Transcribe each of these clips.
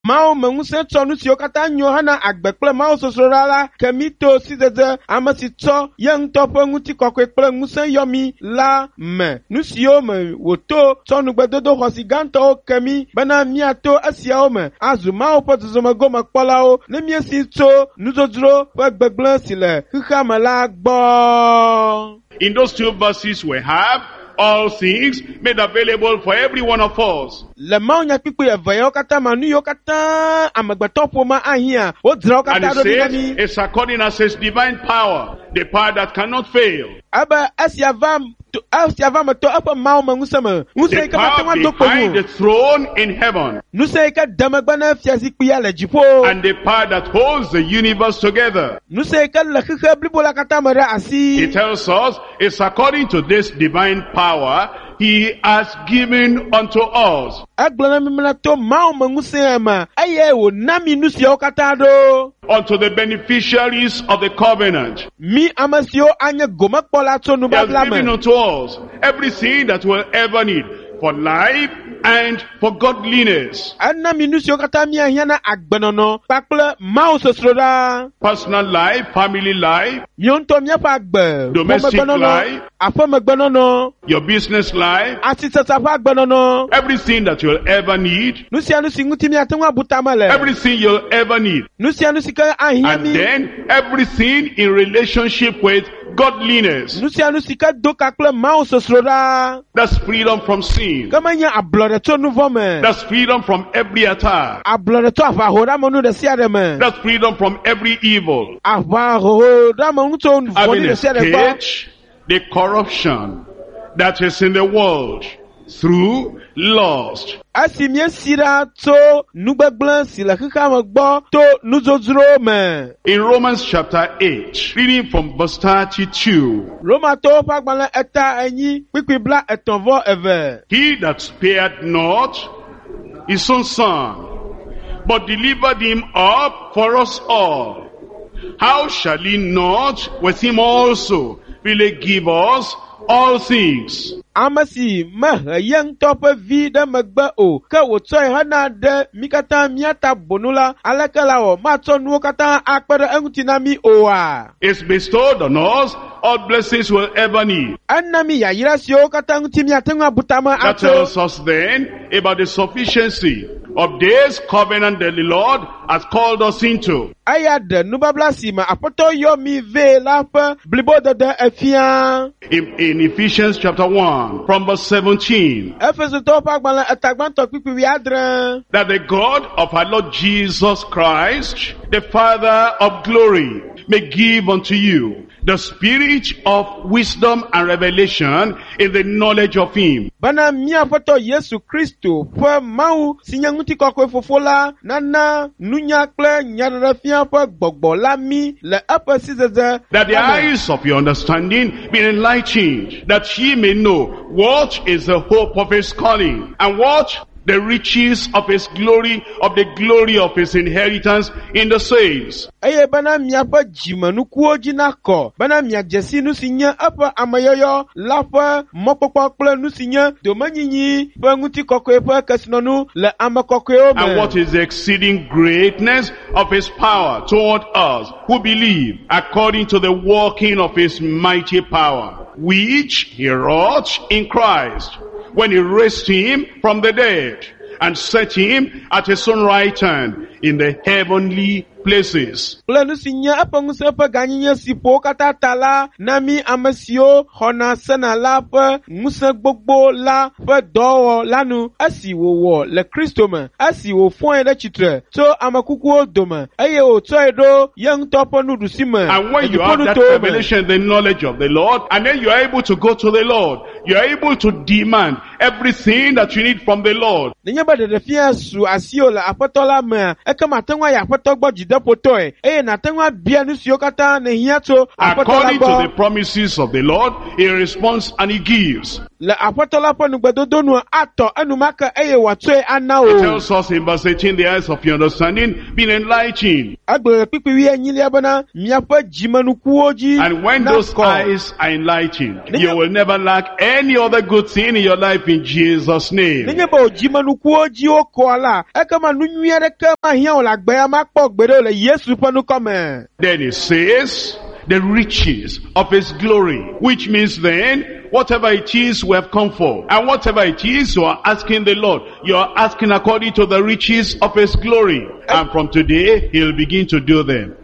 Mawu me ŋusẽ tsɔ nu siwo katã nyo hena agbe kple Mawu sosroɖa la ke mí to sidzedze ame si tsɔ ye ŋutɔ ƒe ŋutikɔkɔe kple ŋusẽ yɔ mí la me. Nu siwo me wòto tsɔ nugbedodo xɔasi gãtɔwo ke mí bena míato esiawo me azu Mawu ƒe zɔzɔmegomekpɔlawo ne míesi tso nudzodzro ƒe gbegblẽ si le xexea me la gbɔ. In those two verses we have all things made available for every one of us. Le mawunyakpukpui eve yawo katã me, nu yiwo katã amegbetɔ ƒomea ahiã, wodzra wo And katã it ɖo ɖi na says, mí. it's according as his divine power, the power that cannot fail. Ebe esia va to esia va me to eƒe Mawu me ŋusẽ me. Ŋusẽ The yi ke mate ŋu power ado kpo behind nu the o. throne in heaven. Ŋusẽ yi ke de megbe na fiazikpuia le dziƒo. And the power that holds the universe together. Ŋusẽ yi ke le xixe blibo la katã me ɖe asi. He tells us it's according to this divine power he has given unto us. Egblɔ na mí bena to Mawu me ŋusẽ me eye wòna mí nu siawo katã ɖo. Unto the beneficiaries of the covenant. Mí ame siwo anye gomekpɔla tso He has nubabla given me. unto us everything that we'll ever need for life and for godliness. Ena mí nu siwo katã míahiã na agbenɔnɔ kpakple Mawu sosroɖa. Personal life, family life, Míawo ŋutɔ míaƒe agbe, Domestic ƒomegbenɔnɔ, life. aƒemegbenɔnɔ, your business life, asisasa ƒe agbenɔnɔ, everything that you'll ever need, nu sia nu si ŋuti míate ŋu abu tame le, everything you'll ever need. nu sia nu si ke ahiã And mí, then everything in relationship with godliness. nu sia nu si ke do ka kple Mawu sosroɖa. That's freedom from sin. Ke menye ablɔɖe tso nu vɔ̃ me, That's freedom from every attack. ablɔɖe tso aʋahoɖeamenu ɖe sia ɖe me, That's freedom from every evil. aʋahoɖeamenu tso Having vɔ̃ɖi ɖe sia ɖe gbɔ. escaped the corruption that is in the world through lust. Esi míesi ɖa tso nugbegblẽ si le xexea me gbɔ to nudzodzro me. In Romans chapter 8, reading from verse 32, Romatɔwo ƒe agbalẽ eta enyi kpukpui bla etɔ̃ vɔ eve. He that spared not his own son, but delivered him up for us all, how shall he not with him also really give us all things? Ame si mehe ye ŋutɔ ƒe vi ɖe megbe o, ke wòtsɔe hena ɖe mí katã mía ta bonu la, aleke la wɔ matsɔ nuwo katã akpe ɖe eŋuti na mí oa? It's bestowed on us all blessings we'll ever need. Ena mí yayra siwo katã ŋuti míate ŋu abu tame That atso. tells us then about the sufficiency of this covenant that the Lord has called us into. Eya ɖe nubabla si me Aƒetɔ yɔ mí vɛ la ƒe blibodede efia. In Ephesians chapter 1, from verse 17, Efesotɔwo ƒe agbalẽ eta gbãtɔ kpukpui wuiadre. that the God of our Lord Jesus Christ, the Father of glory, may give unto you the spirit of wisdom and revelation in the knowledge of him, Bena mía Aƒetɔ Yesu Kristo ƒe Mawu si nye ŋutikɔkɔe fofo la nana nunya kple nyaɖeɖefia ƒe gbɔgbɔ la mí le eƒe sidzedze that the me. eyes of your understanding be enlightened, that ye may know what is the hope of his calling, and what the riches of his glory, of the glory of his inheritance in the saints. Eye bena miaƒe dzimenukuwo dzi nakɔ, bena miadze si nu si nye eƒe ameyɔyɔ la ƒe mɔkpɔkpɔ kple nu si nye domenyinyi ƒe ŋutikɔkɔe ƒe kesinɔnu le ame kɔkɔewo And what me. is the exceeding greatness of his power toward us who believe, according to the working of his mighty power, which he wrought in Christ, when he raised him from the dead and set him at his own right hand in the heavenly places. Kple nu si nye eƒe ŋusẽ ƒe gãnyenye si ƒo wo katã ta la na mí ame siwo xɔna sena la ƒe ŋusẽ gbogbo la ƒe dɔwɔwɔ la nu esi wòwɔ le Kristo me, esi wòfɔe ɖe tsitre tso ame kukuwo dome eye wòtsɔe ɖo ye ŋutɔ ƒe nuɖusi me And le when you have that dziƒonutowo me. revelation, the knowledge of the Lord, and then you are able to go to the Lord, you are able to demand everything that you need from the Lord. Nenye be ɖeɖefia su asiwò le Aƒetɔ la mea, ekema ate ŋu ayi Aƒetɔ gbɔ dzideƒotɔe eye nàte ŋu abia nu siwo katã nèhiã tso Aƒetɔ la According to gbɔ. the promises of the Lord, he responds and he gives. Le aƒetɔ la ƒe nugbedodo nua atɔ enumake eye wòatsɔe ana It o. tells us in verse 18, the eyes of your understanding being enlightened. Egblɔ le kpikpi wuienyilia bena miaƒe dzimenukuwo dzi And when those nakɔ. eyes are enlightened, you will never lack any other good thing in your life in Jesus' name. Nenye be wò dzimenukuwo dzi wokɔa la, ekema nu nyui aɖeke mahiã wò le agbe ya makpɔ gbeɖe o le Yesu ƒe ŋkɔ me. Then it says, the riches of his glory, which means then, whatever it is we have come for, and whatever it is you are asking the Lord, you are asking according to the riches of his glory. And from today, he'll begin to do them.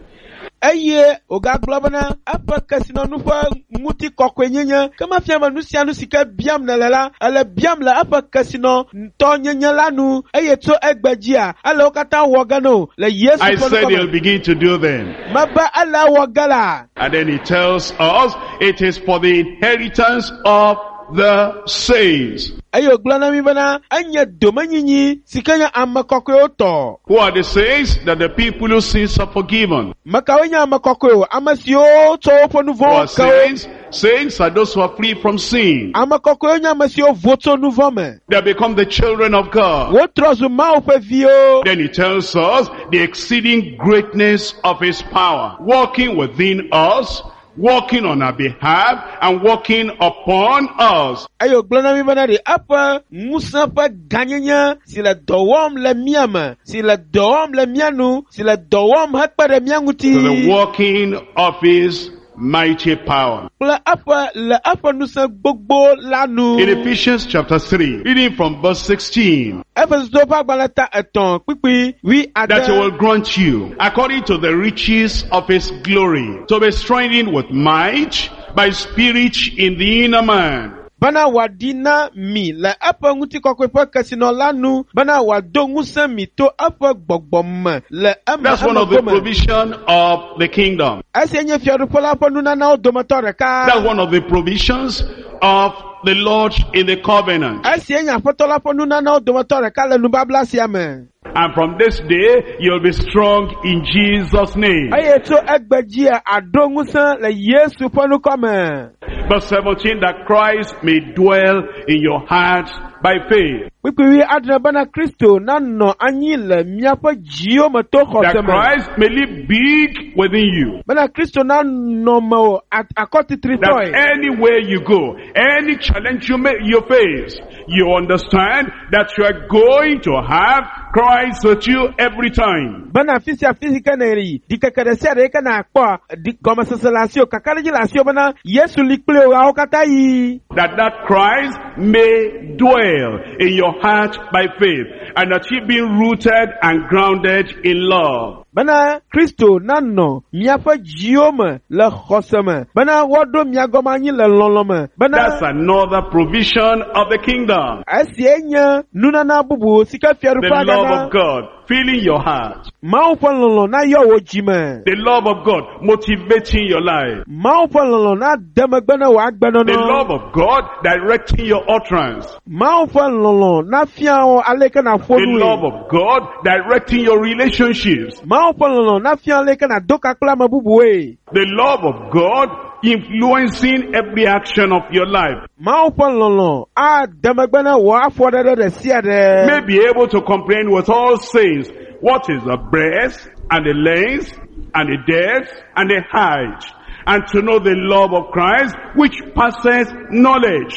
Eye wògagblɔ bena eƒe kesinɔnu ƒe ŋutikɔkɔenyenye ke mefia be nu sia nu si ke biam nèle la, ele biam le eƒe kesinɔtɔnyenye la nu eye tso egbe dzia, ele wo katã wɔ ge no le Yesu I ƒe said ŋkɔ he'll me. begin to do them. Mebe ele wɔ ge la. And then he tells us, it is for the inheritance of the saints. Eye wògblɔ na mi bena enye domenyinyi si ke nye ame kɔkɔewo tɔ. Who are the saints? That the people whose sins are forgiven. Me kawoe nye ame kɔkɔewo? Ame siwo tsɔ woƒe nu Who are vɔ̃wo ke wo. saints? Saints are those who are free from sin. Ame kɔkɔewo nye ame siwo vo tso nu vɔ̃ me. They have become the children of God. Wotrɔ zu Mawu ƒe viwo. Then he tells us the exceeding greatness of his power, working within us, working on our behalf, and working upon us. Eye wògblɔ na mi bena ɖe eƒe ŋusẽ ƒe gãnyenye si le dɔ wɔm le mía me, si le dɔ wɔm le mía nu, si le dɔ wɔm hekpe ɖe mía ŋuti To the working of his mighty power. kple eƒe le eƒe ŋusẽ gbogbo la nu. In Ephesians chapter 3, reading from verse 16, Efesotɔwo ƒe agbalẽ ta etɔ̃ kpukpui wui that he will ade. grant you, according to the riches of his glory, to be strengthened with might by spirit in the inner man, Bena wòaɖi na mi le eƒe ŋutikɔkɔe ƒe kesinɔ la nu, bena wòado ŋusẽ mi to eƒe gbɔgbɔ me le eme That's one of the eme gome. provision of the kingdom. Esia nye fiaɖuƒe la ƒe nunanawo dometɔ ɖeka. That's one of the provisions of the Lord in the covenant. Esia nye aƒetɔ la ƒe nunanawo dometɔ ɖeka le nubabla sia me. And from this day, you'll be strong in Jesus' name. Eye tso egbe dzia aɖo ŋusẽ le Yesu ƒe ŋkɔ me. Verse 17, that Christ may dwell in your hearts by faith. Kpukpui wui adre bena Kristo nanɔ anyi le miaƒe dziwo me to That xɔse me. Christ may live big within you. Bena Kristo nanɔ mewò That akɔtitritɔe. anywhere you go, any challenge you face, you understand that you are going to have Christ with you every time. Bena afi sia afi si ke ne yi, ɖikeke ɖe sia ɖe yi ke nakpɔa, ɖi gɔmesese le asiwò, kakaɖedzi le asiwò bena Yesu li kpli wò ɣeawo katã yi. That Christ may dwell in your heart by faith, and that ye being rooted and grounded in love. Bena Kristo nanɔ miaƒe dziwo me le xɔse me, bena woaɖo mia gɔme anyi le lɔlɔ̃ me, bena That's another provision of the kingdom. esia nye nunana bubu si ke The fiaɖuƒea love gana. of God filling your heart. Mawu ƒe lɔlɔ̃ nayɔ wò dzime. The love of God motivating your life. Mawu ƒe lɔlɔ̃ nade megbe ne wò agbenɔnɔ. The love of God directing your utterance. Mawu ƒe lɔlɔ̃ nafia wò ale ke nàƒo The nue. love of God directing your relationships. Mawu ƒe lɔlɔ̃ nafia ale ke nàdo ka kple ame bubuwoe. The love of God influencing every action of your life. Mawu ƒe lɔlɔ̃ ade megbe ne wò afɔɖeɖe ɖe sia ɖe. May be able to comprehend with all saints what is the breadth and the length and the depth and the height, and to know the love of Christ which passeth knowledge,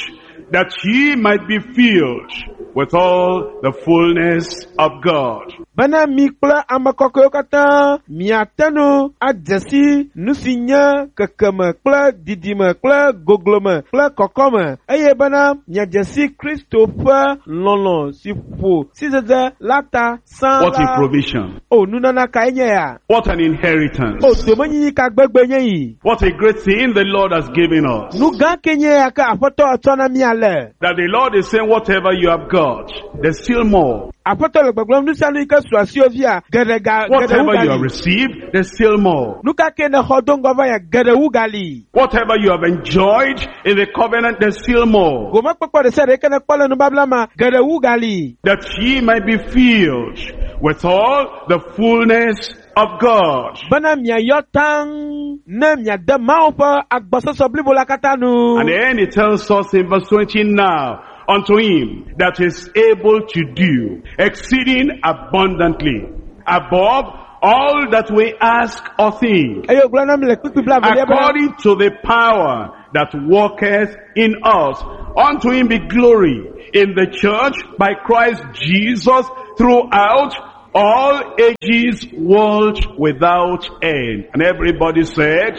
that ye might be filled with all the fullness of God. Bena mi kple ame kɔkɔewo katã miate ŋu adze si nu si nye kekeme kple didime kple goglome kple kɔkɔme eye bena miadze si Kristo ƒe lɔlɔ̃ si ƒo sidzedze la ta sã What a la. provision. O nunana kae nye ya? What an inheritance. O domenyinyi ka gbegbe nye yi? What a great thing the Lord has given us. Nu gã ke nye ya ke Aƒetɔ etsɔ na mí ale? That the Lord is saying whatever you have got, there's still more. Aƒetɔ le gbɔgblɔm nu sia nu yi ke su asiwò fia, geɖe ga geɖe wu Whatever you have gali. received, there's still more. Nu ka ke nèxɔ do ŋgɔ va ya, geɖe wu gali. Whatever you have enjoyed in the covenant, there's still more. Gomekpɔkpɔ ɖe sia ɖe yi ke nèkpɔ le nubabla ma, geɖe wu gali. That ye might be filled with all the fullness of God. Bena miayɔ taŋ ne miade Mawu ƒe agbɔsɔsɔ blibo la katã nu. And then it tells us in verse 20 now, unto him that is able to do exceeding abundantly above all that we ask or think, Eye wògblɔ na mi le kpukpui blaevelia bena, according to the power that worketh in us. Unto him be glory in the church by Christ Jesus throughout all ages, world without end. And everybody said,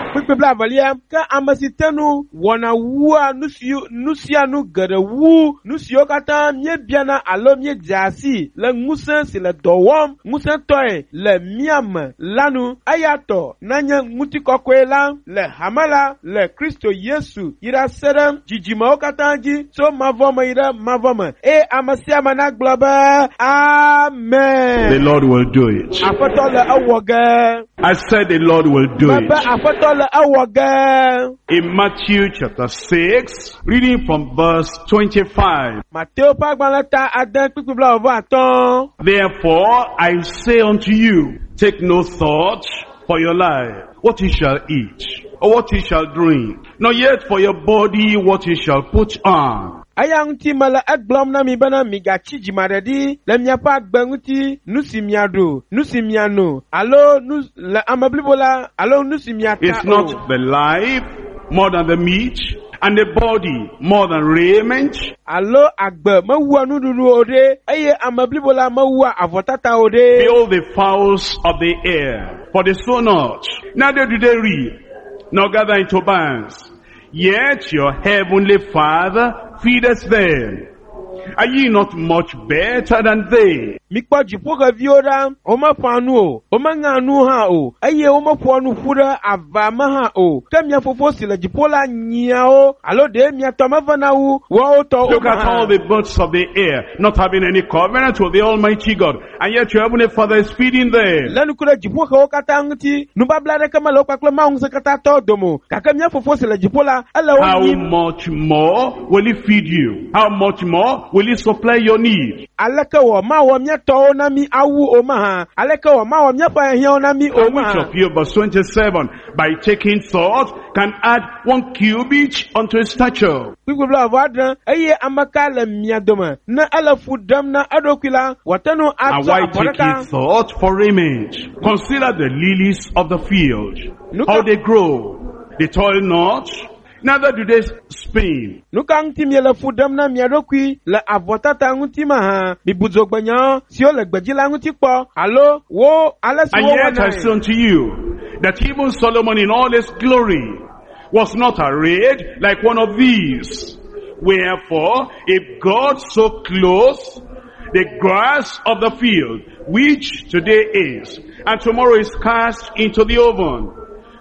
Kpukpui blaevelia, ke ame si te nu wɔna wua nu si nu sia nu geɖe wu nu siwo katã míebiana alo míedzea si le ŋusẽ si le dɔ wɔm ŋusẽtɔe le mía me la nu. Eya tɔ nanye ŋutikɔkɔe la le hame la le Kristo Yesu yi ɖase ɖe dzidzimewo katã dzi tso mavɔ me yi ɖe mavɔ me. Eye ame sia ame nagblɔ be the Amen. Lord will do it. Aƒetɔ le ewɔ ge. I said the Lord will do Mebe it. aƒetɔ le ewɔ ge. In Matthew chapter 6, reading from verse 25. Mateo ƒe agbalẽ ta ade kpukpui blaeve atɔ̃. Therefore I say unto you, take no thought for your life, what ye shall eat, or what ye shall drink, nor yet for your body what ye shall put on. Eya ŋuti mele egblɔm na mi bena migatsi dzimaɖeɖi le miaƒe agbe ŋuti, nu si miaɖu, nu si miano, alo nu le ame blibo la, alo nu si miata Is o. not the life more than the meat, and the body more than raiment? Alo agbe mewua nuɖuɖu o ɖe, eye ame blibo la mewua avɔtata o ɖe. Behold the fowls of the air, for they sow not, neither do they reap, nor gather into barns. Yet your heavenly Father feedeth them. Are ye not much better than they? Mikpɔ dziƒoxeviwo ɖa, womeƒã nu o, womeŋea nu hã o, eye womeƒoa nu ƒu ɖe ava me hã o. Ke mia fofo si le dziƒo la nyia wo, alo ɖe mia tɔ mevena wu woawo tɔ o Look at all hã. the birds of the air, not having any covenant with the Almighty God, and yet your heavenly Father is feeding them. Lé ŋku ɖe dziƒoxewo katã ŋuti, nubabla aɖeke mele wo kpakple Mawu ŋusẽkatãtɔwo dome o, gake mía fofo si le dziƒo la, ele wo How nyim. much more will he feed you? How much more will he supply your need? Aleke wɔ mawɔ mía tɔwo na mí awu o mahã? Aleke wɔ mawɔ míaƒe hiãwo na mí o And which mahã? of you, verse 27, by taking thought, can add one cubit unto his stature? Kpukpui blaeve adre, eye ame ka le mia dome ne ele fu ɖem na eɖokui la, wòate ŋu And atsɔ why abɔ take ɖeka. ye thought for raiment? Consider the lilies of the field, Look how at- they grow. They toil not, neither do they spin. Nu ka ŋuti miele fu ɖem na mia ɖokui le avɔtata ŋuti mahã? Mibu dzogbenyawo siwo le gbedzi la ŋuti kpɔ alo wo ale si And yet I wowɔnae. say unto you, that even Solomon in all his glory was not arrayed like one of these. Wherefore, if God so clothes the grass of the field, which today is, and tomorrow is cast into the oven,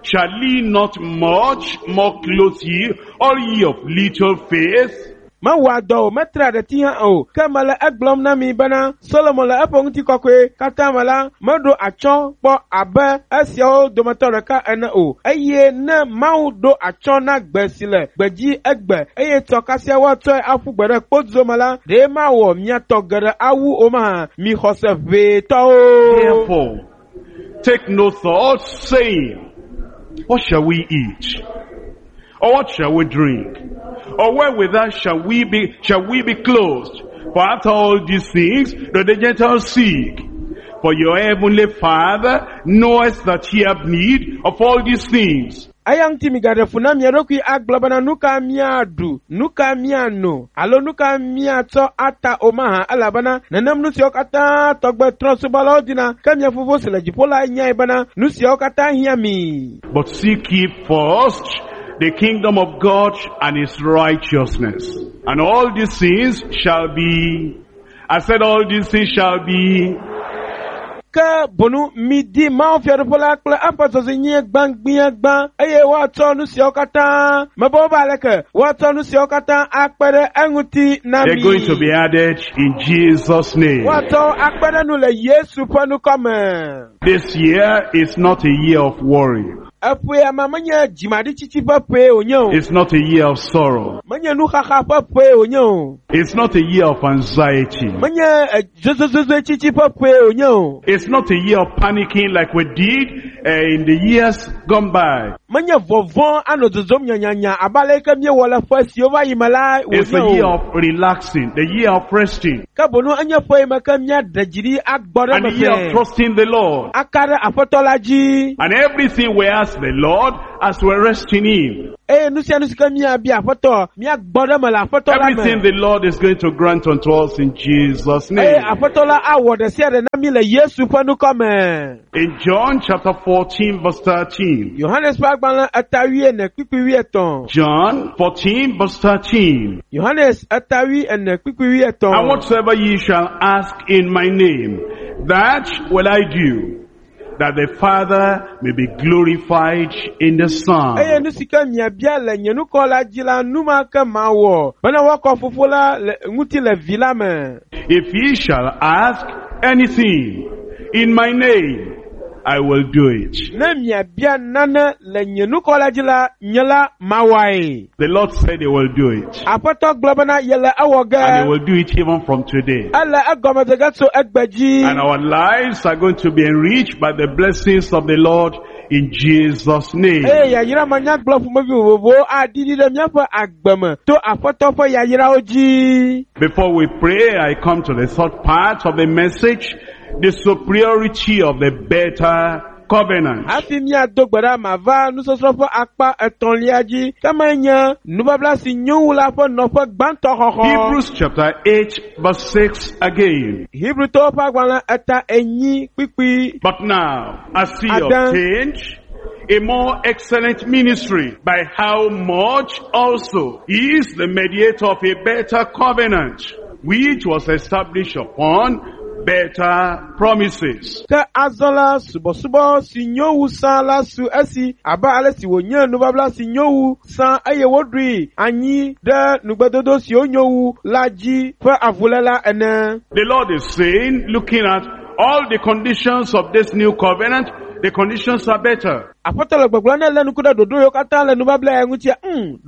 shall he not much more clothe ye, all ye of little faith? Mewɔa dɔ o, metrea ɖeti hã o. Ke mele egblɔm na mi bena Solomon le eƒe ŋutikɔkɔe katã me la, meɖo atsyɔ̃ kpɔ abe esiawo dometɔ ɖeka ene o. Eye ne Mawu ɖo atsyɔ̃ na gbe si le gbedzi egbe eye tsɔ kasia woatsɔe aƒu gbe ɖe kpodzo me la, ɖe mawɔ mia tɔ geɖe awu o mahã? Mi xɔse ʋɛtɔwo. Therefore, take no thought, saying, What shall we eat? Or what shall we drink? Or wherewithal shall we be clothed? For after all these things do the Gentiles seek. For your heavenly Father knoweth that ye have need of all these things. Eya ŋuti migaɖe fu na mia ɖokui agblɔ bena nu ka míaɖu, nu ka míano, alo nu ka míatsɔ ata o mahã elabena nenem nu siawo katã tɔgbe trɔ̃subɔlawo dina ke mia fofo si le dziƒo la nyae bena nu siawo katã hiã mi. But seek ye first the kingdom of God and his righteousness. And all these things shall be, I said all these things shall be Ke bonu midi Mawu fiaɖuƒe la kple eƒe dzɔdzɔenyenye gbãgbiagbã eye woatsɔ nu siawo katã mebe wobe aleke woatsɔ nu siawo katã akpe ɖe eŋuti na They're mi. going to be added in Jesus' name. Woatsɔ akpe ɖe nu le Yesu ƒe ŋkɔ me. This year is not a year of worry. Eƒea ma menye dzimaɖitsitsi ƒe ƒee wònye o. It's not a year of sorrow. Menye nuxaxa ƒe ƒee wònye o. It's not a year of anxiety. Menye eh, zozozozoetsitsi ƒe ƒee wònye o. It's not a year of panicking like we did in the years gone by. Menye vɔvɔ̃ anɔ dzodzom nyanyanya abe ale yi ke míewɔ le ƒe siwo va yi me la It's a wònye year o. of relaxing, the year of resting, Ke boŋ enye ƒe yi me ke míaɖe dzi ɖi agbɔ ɖe and eme the year of fɛɛ. trusting the Lord. Aka ɖe Aƒetɔ la dzi. And everything we ask the Lord as we rest in Him. Eye nu sia nu si ke míabia Aƒetɔ, míagbɔ ɖe eme le Aƒetɔ la Everything me. the Lord is going to grant unto us in Jesus' Eye name. Aƒetɔ la awɔ ɖe sia ɖe na mí le Yesu ƒe ŋkɔ me. In John chapter 14 verse 13. Yohanes ƒe agbalẽ eta wuiene kpukpui wuietɔ̃. John 14 verse 13. Yohanes eta wuiene kpukpui wuietɔ̃. And whatsoever ye shall ask in my name, that will I do, that the Father may be glorified in the Eye Son. nu si ke miabia le nye ŋkɔ la dzi la, nu ma ke mawɔ bena woakɔ Fofo la le ŋuti le Vi la me. If ye shall ask anything in my name, I will do it. Ne miabia nane le nye ŋkɔ la dzi la, nye la mawɔe. The Lord said he will do it. Aƒetɔ gblɔ bena yele ewɔ And he ge. will do it even from today. Ele egɔme de ge tso egbe dzi. And our lives are going to be enriched by the blessings of the Lord in Jesus' name. Eye yayra manyagblɔ ƒomevi vovovowo aɖiɖi ɖe míaƒe agbe me to Aƒetɔ ƒe yayrawo dzi. Before we pray, I come to the third part of the message, the superiority of the better covenant. Hafi míado gbe ɖa mava nusɔsrɔ̃ ƒe akpa etɔ̃lia dzi, ke menye nubabla si nyo wu la ƒe nɔƒe gbãtɔ xɔxɔ. Hebrews chapter 8 verse 6 again. Hebrewtɔwo ƒe agbalẽ eta enyi kpukpui But now, as he Adam. obtained a more excellent ministry, by how much also he is the mediator of a better covenant, which was established upon better promises. Ke azɔ la subɔsubɔ si nyo wu sã la su esi abe ale si wònye nubabla si nyo wu sã eye woɖoe anyi ɖe nugbedodo siwo nyo wu la dzi ƒe avuléla ene. The Lord is saying, looking at all the conditions of this new covenant, the conditions are better. Aƒetɔ le gbɔgblɔm ne lé ŋku ɖe ɖoɖo yiwo katã le nubabla ya ŋutia,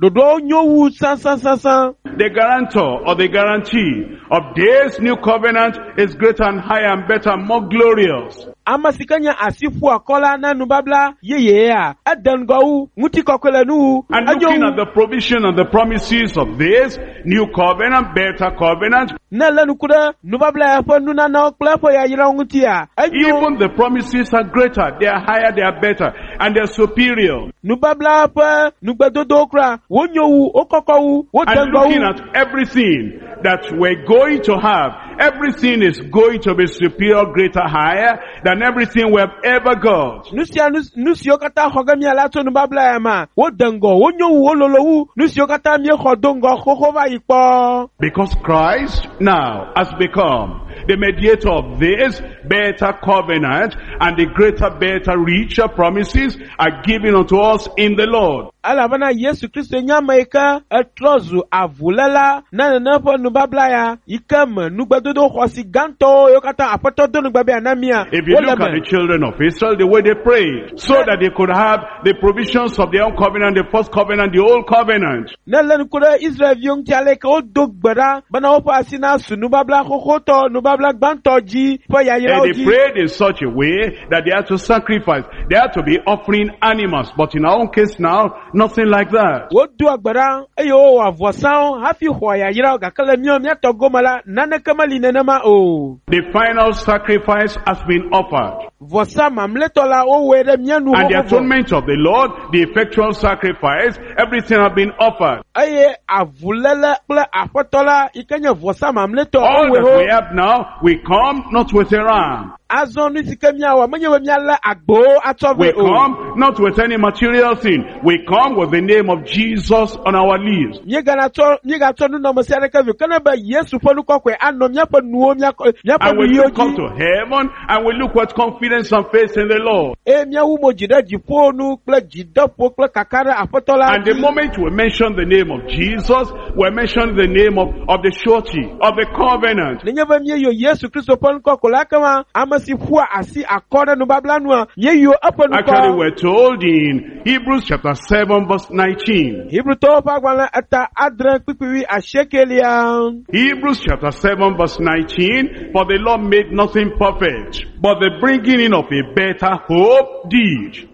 ɖoɖoawo nyo wu sãsãsãsã. The guarantor or the guarantee of this new covenant is greater and higher and better and more glorious. Ame si ke nye asi ƒu akɔ la na nubabla yeyea, ede ŋgɔ wu, ŋutikɔkɔe le nu wu, And enyo looking wu. at the provision and the promises of this new covenant, better covenant, Ne lé ŋku ɖe nubabla ya ƒe nunanawo kple eƒe yayrawo ŋutia, enyo. even the promises are greater, they are higher, they are better, and they are superior. Nubabla ƒe nugbedodowo kura, wonyo wu, wokɔkɔ wu, wode And ŋgɔ looking wu. at everything that we're going to have, everything is going to be superior, greater, higher than everything we have ever got. Nu sia nu nu siwo katã xɔ ge míala tso nubabla ya mea, wode ŋgɔ, wonyo wu, wololo wu nu siwo katã míexɔ do ŋgɔ xoxo va yi kpɔ. Because Christ now has become the mediator of this better covenant, and the greater, better, richer promises are given unto us in the Lord. Elabena Yesu Kristo nye ame yi ke etrɔ zu avuléla na nene ƒe nubabla ya yi ke me nugbedodo xɔasi gãtɔwo yiwo katã Aƒetɔ do nugbe be yeana mía, If you wole look at me. the children of Israel, the way they prayed, so that they could have the provisions of their own covenant, the first covenant, the old covenant. Ne lé ŋku ɖe Israelviwo ŋuti ale yi ke wodo gbe ɖa bena woƒe asi nasu nubabla xoxotɔ, nubabla gbãtɔ dzi ƒe yayrawo And they dzi. prayed in such a way that they had to sacrifice. They had to be offering animals. But in our own case now, nothing like that. Wodoa gbe ɖa eye wowɔ avɔsawo hafi xɔa yayrawo gake le míawo míatɔ gome la, naneke meli nenema o. The final sacrifice has been offered. Vɔsa mamlɛtɔ la, wowɔe ɖe mía nu And the xoxo vɔ. atonement of the Lord, the effectual sacrifice, everything has been offered. Eye avuléle kple aƒetɔ la yi ke nye vɔsa mamlɛtɔ All wowɔe that ho. we have now, we come not with a ram. Azɔ nu si ke míawɔ menye be míalé agbowo atsɔ We vɛ o. come not with any material thing. We come with the name of Jesus on our lips. Míeganatsɔ míegatsɔ nunɔamesi aɖeke vɛ o, ke ne be Yesu ƒe nu kɔkɔe anɔ míaƒe nuwo míakɔ míaƒe And we nuyiwo look up dzi. to heaven and we look with confidence and faith in the Lord. Eye míawu mo dzi ɖe dziƒo nu kple dzideƒo kple kaka ɖe aƒetɔ la And the dzi. moment we mention the name of Jesus, we mention the name of the surety, of the covenant. Nenye be míeyɔ Yesu Kristo ƒe ŋkɔ ko la, ekema ame si ƒua asi akɔ ɖe nubabla nua, míeyɔ eƒe Actually, ŋkɔ. we're told in Hebrews chapter 7 verse 19. Hebrewtɔwo ƒe agbalẽ eta adre kpukpui wui asiekelia. Hebrews chapter 7 verse 19, for the law made nothing perfect, but the bringing in of a better hope did,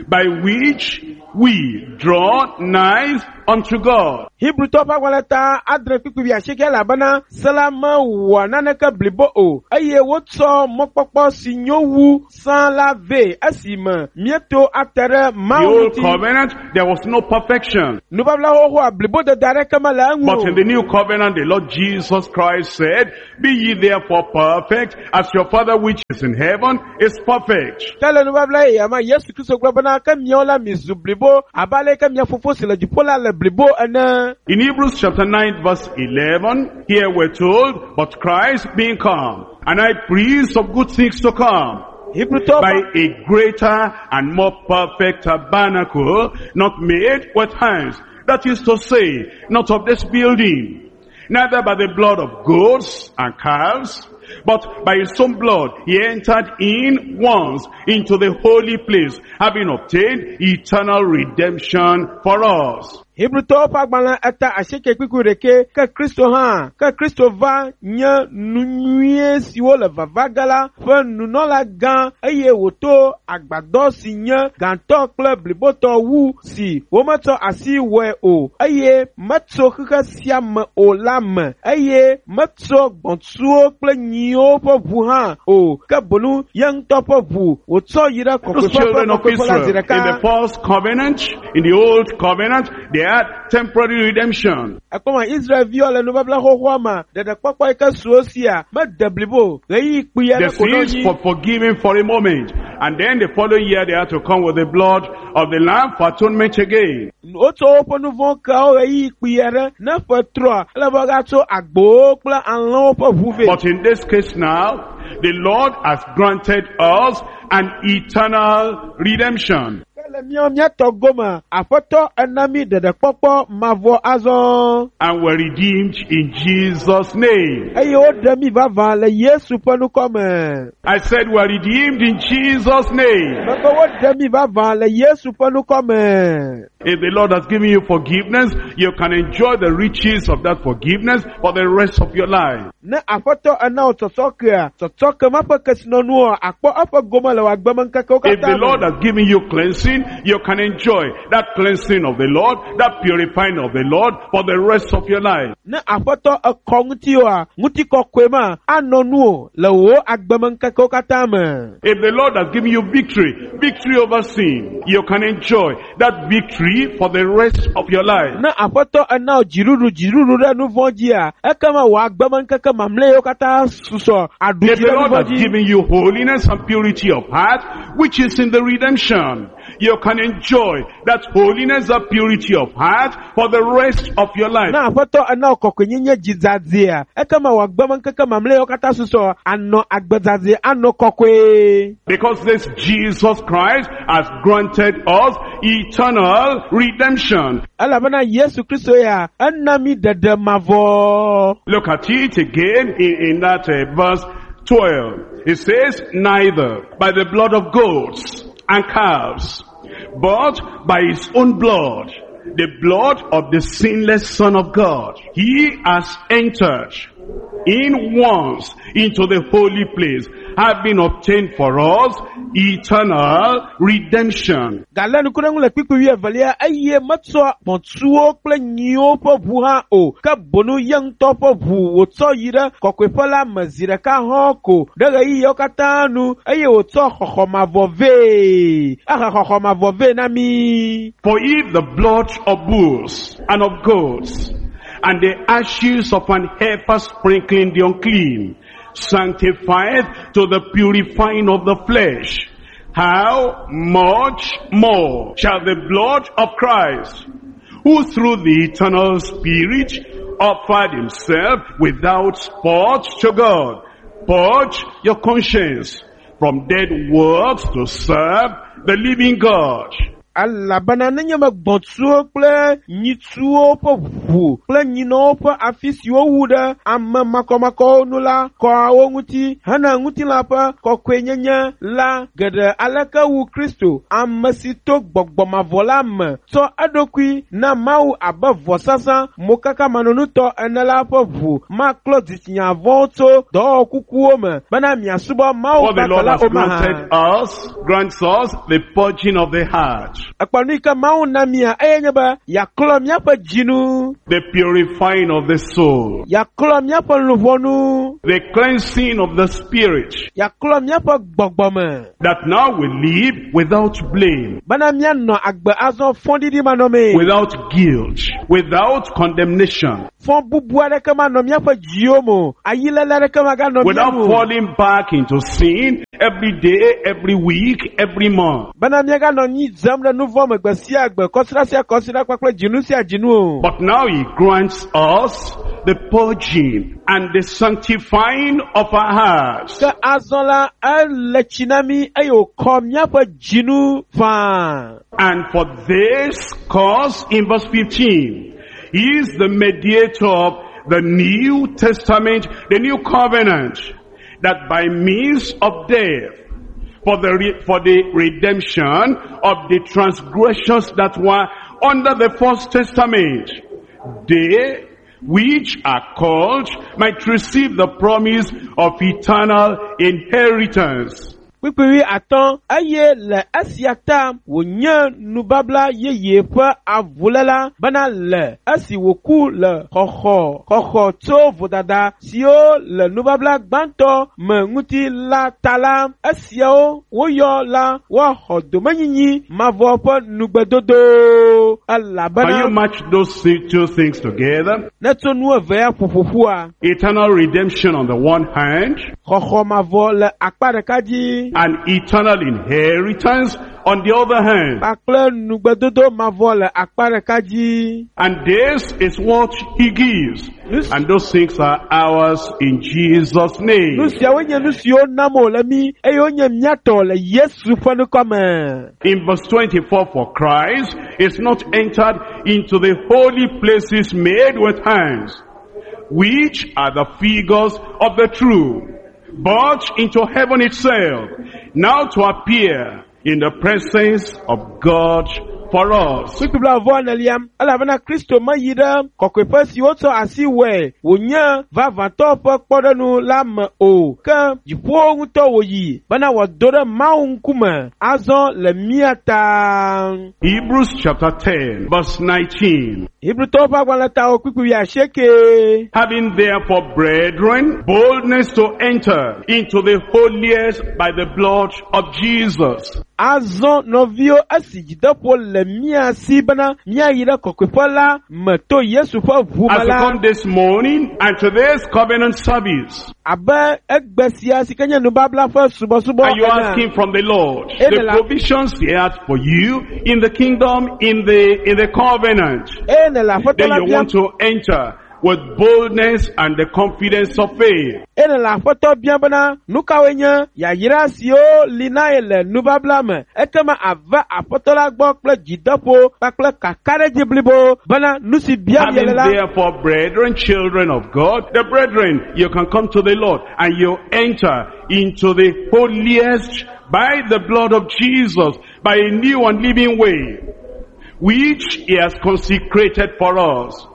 by which we draw nigh unto God. Hebrewtɔwo ƒe agbalẽ ta adre kpukpui wui asieke elabena se la mewɔa naneke blibo o eye wotsɔ mɔkpɔkpɔ si nyo wu sã la vɛ esime míeto ate ɖe The Mawu old ŋuti. covenant, there was no perfection. Nubabla xoxoa blibodede aɖeke mele eŋu But in o. the new covenant, the Lord Jesus Christ said, Be ye therefore perfect, as your Father which is in heaven is perfect. Ke le nubabla yeyea me, Yesu Kristo gblɔ bena ke miawo la mizu blibo abe ale yi ke mia fofo si le dziƒo la le blibo ene. In Hebrews chapter 9 verse 11, here we're told, But Christ being come, and high priest of good things to come, Hebrewtɔwo by ƒe a greater and more perfect tabernacle, not made with hands, that is to say, not of this building, neither by the blood of goats and calves, but by his own blood he entered in once into the holy place, having obtained eternal redemption for us. Hebrewtɔwo ƒe agbalẽ eta asieke kpukpui ɖekɛ ke Kristo hã ke Kristo va nye nu nyuie siwo le vava ge la ƒe nunɔla gã eye wòto agbadɔ si nye gãtɔ kple blibotɔ wu si wometsɔ asi wɔe o eye metso xexe sia me o la me eye metso gbɔ̃tsuwo kple nyiwo ƒe ʋu hã o ke boŋ ye ŋutɔ ƒe ʋu wòtsɔ yi ɖe Those kɔkɔeƒe ƒe children of kɔkɔeƒe la Israel, zi in the ɖeka. first covenant, in the old covenant, they had temporary redemption. Ekpɔma Israelviwo le nubabla xoxoa me ɖeɖekpɔkpɔ yi ke su wo sia mede blibo ɣeyiɣi kpui The aɖe ko nɔ sins anyi. for forgiven for a moment. And then the following year they had to come with the blood of the lamb for atonement again. Wotsɔ woƒe nu vɔ̃ keawo ɣeyiɣi kpui aɖe ne ƒe trɔa ele be woagatso agbowo kple alẽwo ƒe ʋu vɛ. But in this case now, the Lord has granted us an eternal redemption. Ke le míawo míatɔ gome aƒetɔ ena mí ɖeɖekpɔkpɔ mavɔ azɔ And we're redeemed in Jesus' name. eye woɖe mí vavã le Yesu ƒe ŋkɔ me. I said we're redeemed in Jesus' name. Mebe woɖe mí vavã le Yesu ƒe ŋkɔ me. If the Lord has given you forgiveness, you can enjoy the riches of that forgiveness for the rest of your life. Ne aƒetɔ ena wò tsɔtsɔkea, tsɔtsɔke ma ƒe kesinɔnuwoa, akpɔ eƒe gome le wò agbemeŋkekewo If the katã Lord me. has given you cleansing, you can enjoy that cleansing of the Lord, that purifying of the Lord for the rest of your life. Ne aƒetɔ ekɔ ŋutiwoa, ŋutikɔkɔe ma anɔ nuwò le wò agbemeŋkekewo katã me. If the Lord has given you victory, victory over sin, you can enjoy that victory for the rest of your life. Ne aƒetɔ ena wò dziɖuɖu dziɖuɖu ɖe nu vɔ̃ dzia, ekema wò agbemeŋkeke mamlɛawo katã susɔ aɖu If dzi the ɖe nu Lord vɔ̃ has dzi. given you holiness and purity of heart, which is in the redemption, you can enjoy that holiness and purity of heart for the rest of your life. Ne aƒetɔ ena wò kɔkɔenyenye dzidzadzea, ekema wò agbemeŋkeke mamlɛawo katã susɔ anɔ agbedzadzɛ anɔ kɔkɔe. Because this Jesus Christ has granted us eternal redemption. Elabena Yesu Kristo ya ena mí ɖeɖe mavɔ. Look at it again in that verse 12. It says, neither by the blood of goats and calves, but by his own blood, the blood of the sinless Son of God, he has entered in once into the holy place, having obtained for us eternal redemption. Galé ŋku ɖe eŋu le kpukpui wuievelia eye metsɔ gbɔ̃tsuwo kple nyiwo ƒe ʋu hã o ke boŋ ye ŋutɔ ƒe ʋu wòtsɔ yi ɖe kɔkɔeƒe la me zi ɖeka hɔ̃ ko ɖe ɣeyiɣiawo katã nu eye wòtsɔ xɔxɔ mavɔ vɛ. Ehe xɔxɔ mavɔ vɛ na mí. For if the blood of bulls and of goats and the ashes of an heifer sprinkling the unclean sanctifieth to the purifying of the flesh, how much more shall the blood of Christ, who through the eternal Spirit offered himself without spot to God, purge your conscience from dead works to serve the living God. Elabena nenye be gbɔ̃tsuwo kple nyitsuwo ƒe ʋu kple nyinɔwo ƒe afi si wowu ɖe ame makɔmakɔwo nu la kɔa wo ŋuti hena ŋutilã ƒe kɔkɔenyenye la geɖe aleke wu Kristo, ame si to gbɔgbɔ mavɔ la me tsɔ eɖokui na Mawu abe vɔsasa mokakamanɔnutɔ ene la ƒe ʋu maklɔ dzitsinya vɔ̃wo tso dɔwɔwɔ kukuwo me bena miasubɔ Mawu What the Lord vavã la has o mahã. granted us, grants us the purging of the heart, Ekpɔ nu yi ke Mawu na mia eye nye be yeaklɔ míaƒe dzinu, the purifying of the soul, yeaklɔ míaƒe luʋɔnu, the cleansing of the spirit, yeaklɔ míaƒe gbɔgbɔ me that now we live without blame, bena míanɔ agbe azɔ fɔɖiɖi manɔmee. without guilt, without condemnation, Fɔ bubu aɖeke manɔ míaƒe dziwo me o, ayilele aɖeke maganɔ mía without ŋu o. falling back into sin every day, every week, every month. Bena míaganɔ anyi dzem ɖe nu vɔ̃ me gbe sia gbe, kɔsiɖa sia kɔsiɖa kpakple dzinu sia dzinu o. But now he grants us the purging and the sanctifying of our hearts. Ke azɔ la, ele tsi na mí eye wòkɔ míaƒe dzinu faa. And for this cause, in verse 15, he is the mediator of the New Testament, the New Covenant, that by means of death, for the redemption of the transgressions that were under the first testament, they which are called might receive the promise of eternal inheritance. Kpukpui atɔ̃ eye le esia ta wònye nubabla yeye ƒe avuléla bena le esi wòku le xɔxɔ xɔxɔ tso vodada siwo le nubabla gbãtɔ me ŋuti la ta la, esiawo woyɔ la woaxɔ domenyinyi mavɔ ƒe nugbedodo Can you elabena match those two things together? ne tso nu evea ƒoƒoƒua, Eternal redemption on the one hand, xɔxɔ mavɔ le akpa ɖeka dzi and eternal inheritance on the other hand. kpakple nugbedodo mavɔ le akpa ɖeka dzi. And this is what he gives. And those things are ours in Jesus' name. Nu siawo nye nu siwo nam wòle mí eye wonye mía tɔ le Yesu ƒe ŋkɔ me. In verse 24, for Christ is not entered into the holy places made with hands, which are the figures of the true, but into heaven itself, now to appear in the presence of God for us. Kpukpui blaeve enelia, elabena Kristo meyi ɖe kɔkɔeƒe si wotsɔ asi wɔe wònye vavãtɔ ƒe kpɔɖeŋu la me o, ke dziƒowo ŋutɔ wòyi bena wòado ɖe Mawu ŋkume azɔ le mía ta. Hebrews chapter 10, verse 19. Hebrewtɔwo ƒe agbalẽ tawo kpukpui wuiasieke. Having therefore, brethren, boldness to enter into the holiest by the blood of Jesus. Azɔ nɔviwo esi dzideƒo le mía si bena míayi ɖe kɔkɔeƒe la me to Yesu ƒe ʋu me As we la come this morning and to this covenant service, abe egbe sia si ke nye nubabla ƒe subɔsubɔ and you're ene. asking from the Lord the provisions He had for you in the kingdom, in the covenant. Eye nèle aƒetɔ Then la you biam want to enter with boldness and the confidence of faith. eye nèle aƒetɔ biam bena nu kawoe nye yayra siwo li na ye le nubabla me ekema ava aƒetɔ la gbɔ kple dzideƒo kpakple kakaɖedzi blibo bena nu si biam ye Having le la therefore, brethren, children of God, the brethren, you can come to the Lord and you enter into the holiest by the blood of Jesus, by a new and living way, which he has consecrated for us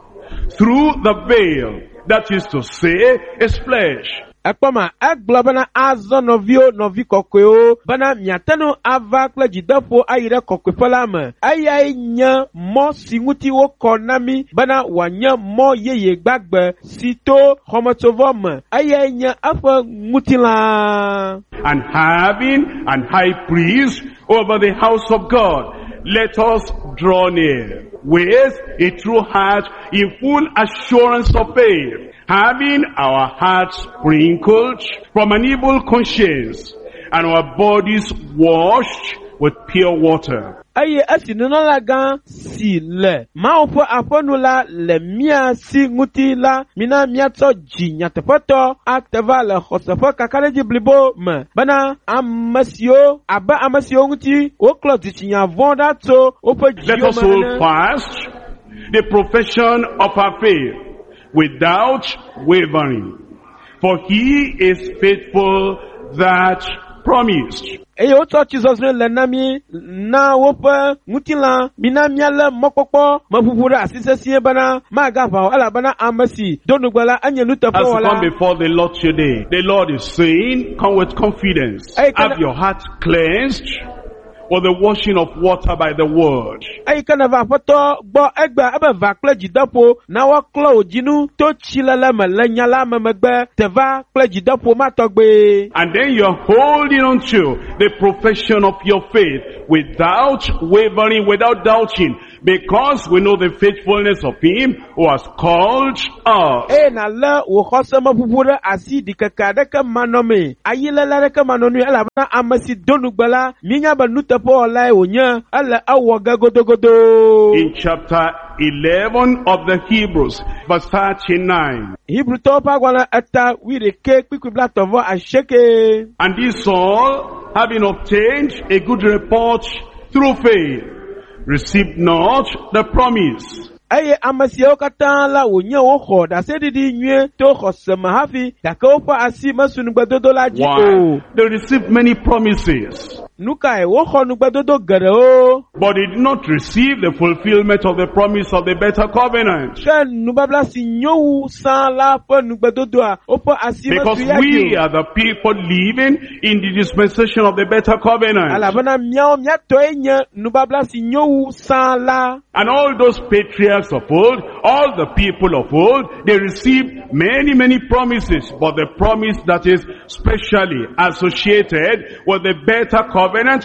through the veil, that is to say, his flesh. Ekpɔ ma, egblɔ bena azɔ nɔviwo nɔvi kɔkɔewo bena miate ŋu ava kple dzideƒo ayi ɖe kɔkɔeƒe la me. Eyae nye mɔ si ŋuti wokɔ na mí bena wòanye mɔ yeye gbagbe si to xɔmetsovɔ me. Eyae nye eƒe ŋutilã. And having an high priest over the house of God, let us draw near with a true heart in full assurance of faith, having our hearts sprinkled from an evil conscience and our bodies washed with pure water. Eye esi nunɔlagã si le Mawu ƒe aƒenu la le mía si ŋuti la, mina míatsɔ dzi nyateƒetɔ ate va le xɔse ƒe kakaɖedzi blibo me bena ame siwo abe ame siwo ŋuti woklɔ dzitsinya vɔ̃ ɖa tso woƒe Let dziwo us me hold ene. fast the profession of our faith without wavering. For he is faithful that promised. Eye wotsɔ tsizɔzrɔ̃e le na mí na woƒe ŋutilã. Mina míalé mɔkpɔkpɔ meʋuʋu ɖe asi sesĩe bena magaʋã o elabena ame si do nugbe la enye As you come nuteƒewɔla. before the Lord today, the Lord is saying, come with confidence. Hey, can Have I- your heart cleansed with the washing of water by the word. Eyi ke neva aƒetɔ gbɔ egbea ebe va kple dzideƒo na woaklɔ wò dzinu to tsilele me le nya la me megbe teva kple dzideƒo ma tɔgbe. And then you're holding on to the profession of your faith without wavering, without doubting, because we know the faithfulness of him who has called us. Eye nàlé wò xɔsemeʋuʋu ɖe asi ɖikeke aɖeke manɔmee, ayilele aɖeke manɔnui elabena ame si do nugbe la, míenya be nuteƒewɔlae wònye, ele ewɔ ge godogodo. In chapter 11 of the Hebrews, verse 39. Hebrewtɔwo ƒe agbalẽ eta wuiɖekɛ kpikpi blaetɔ̃ vɔ asieke. And this all, having obtained a good report through faith, received not the promise. Eye ame siawo katã la wònye woxɔ ɖaseɖiɖi nyuie to xɔse me hafi gake woƒe asi mesu nugbedodo la dzi o. Why? They received many promises, Nu kae woxɔ nugbedodo geɖewo but they did not receive the fulfillment of the promise of the better covenant. ke nubabla si nyo wu sã la ƒe nugbedodoa woƒe asi Because mesu ya dzi we o. are the people living in the dispensation of the better covenant. Elabena míawo míatɔe nye nubabla si nyo wu sã la. And all those patriarchs of old, all the people of old, they received many, many promises. But the promise that is specially associated with the better covenant,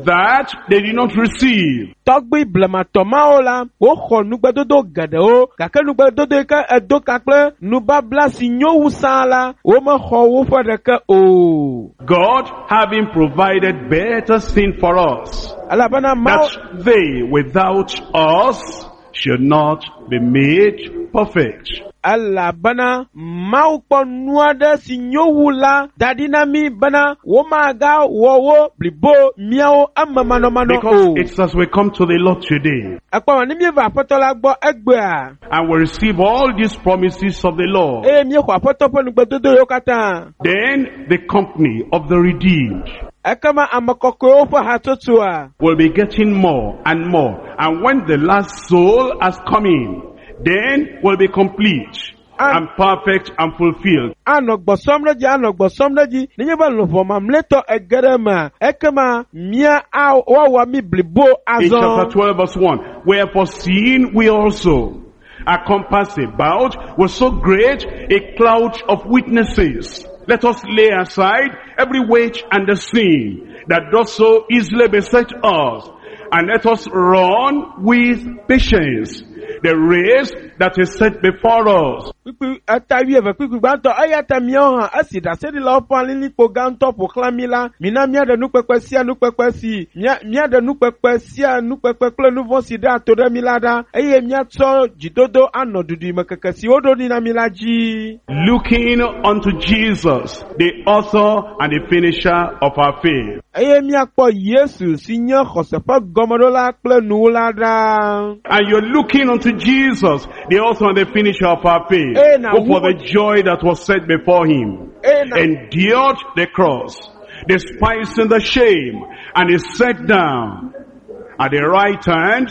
that they did not receive. Tɔgbui blematɔ mawo la, woxɔ nugbedodo geɖewo gake nugbedodo yi ke edo ka kple nubabla si nyo wu sã la, womexɔ woƒe ɖeke o. God having provided better sin for us, Elabena Mawu that they without us should not be made perfect. elabena Mawu kpɔ nu aɖe si nyo wu la da ɖi na mí bena womagawɔ wo blibo míawo eme manɔmanɔ Because o. it's as we come to the Lord today Ekpɔ ma ne míeva aƒetɔ la gbɔ egbea and we receive all these promises of the Lord. eye míexɔ aƒetɔ ƒe nugbedodo yiwo katã. Then the company of the redeemed Ekema ame kɔkɔewo ƒe hatsotsoa will be getting more and more. And when the last soul has come in, then will be complete and perfect and fulfilled. anɔ gbɔsɔm ɖe dzi anɔ gbɔsɔm ɖe dzi nenye be luʋɔ mamlɛtɔ ege ɖe emea ekema mía a woawɔ mí blibo In chapter azɔ. 12 verse 1, wherefore seeing we also are compassed about with so great a cloud of witnesses, let us lay aside every weight and the sin that does so easily beset us, and let us run with patience the race that is set before us. Kpukpui eta wuieve kpukpui gbãtɔ eya ta míawo hã esi ɖaseɖilawo ƒe alilikpo gãtɔ ƒo xlã mí la mina míaɖe nukpekpe sia nukpekpe si mía míaɖe nukpekpe sia nukpekpe kple nu vɔ̃ si ɖea to ɖe mí la ɖa eye míatsɔ dzidodo anɔ duɖimekeke si woɖo ɖi na mí la dzi. Looking unto Jesus, the author and the finisher of our faith. Eye míakpɔ Yesu si nye xɔse ƒe gɔmeɖola kple nuwula ɖa. And you're looking unto Jesus, the author and the finisher of our faith, Eh, now who for who- the joy that was set before him Eye na endured the cross, despising the shame, and is set down at the right hand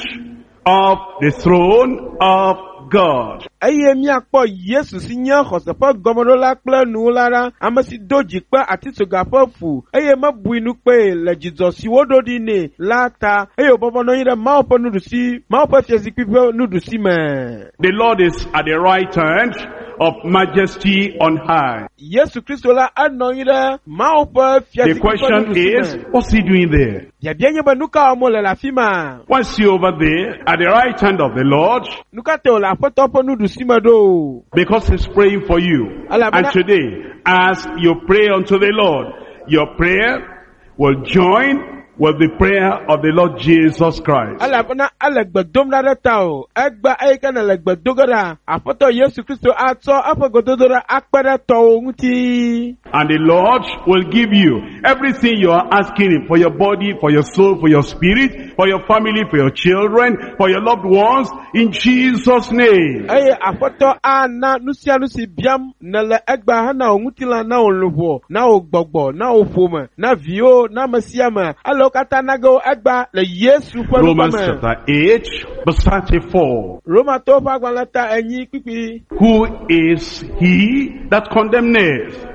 of the throne of God. eye míakpɔ Yesu si nye xɔse ƒe gɔmeɖola kple nuwula ɖa, ame si do dzi kpe atitsoga ƒe fu eye mebui nu kpee le dzidzɔ si woɖo ɖi nɛ la ta eye wòbɔbɔ nɔ anyi ɖe Mawu ƒe nuɖusi Mawu ƒe fiazikpui ƒe nuɖusi me. The Lord is at the right hand of majesty on high. Yesu Kristo la enɔ anyi ɖe Mawu ƒe The fiazikpui ƒe question nuɖusi is, me. what's he doing there? Biabia nye be nu ka wɔm wòle le afi ma? Why is he over there at the right hand of the Lord? Nu ka ta wòle Aƒetɔ ƒe nuɖusi me ɖo? Because he's praying for you. And today, as you pray unto the Lord, your prayer will join with the prayer of the Lord Jesus Christ. Elabena ele gbe dom ɖa ɖe ta o. Egbe eyi ke nele gbe do ge ɖa, Aƒetɔ Yesu Kristo atsɔ eƒe gbedodoɖa akpe ɖe tɔwò ŋuti. And the Lord will give you everything you are asking him for your body, for your soul, for your spirit, for your family, for your children, for your loved ones, in Jesus' name. Eye Aƒetɔ ana nu sia nu si biam nèle egbea hena wò ŋutilã, na wò luʋɔ, na wò gbɔgbɔ, na wò ƒome, na viwo, na ame sia ame. Ele wo katã na ge wo egbea le Yesu ƒe Romans ŋkɔ me. chapter 8, verse 34. Romatɔwo ƒe agbalẽ ta 4 kpukpui. Who is he that condemneth?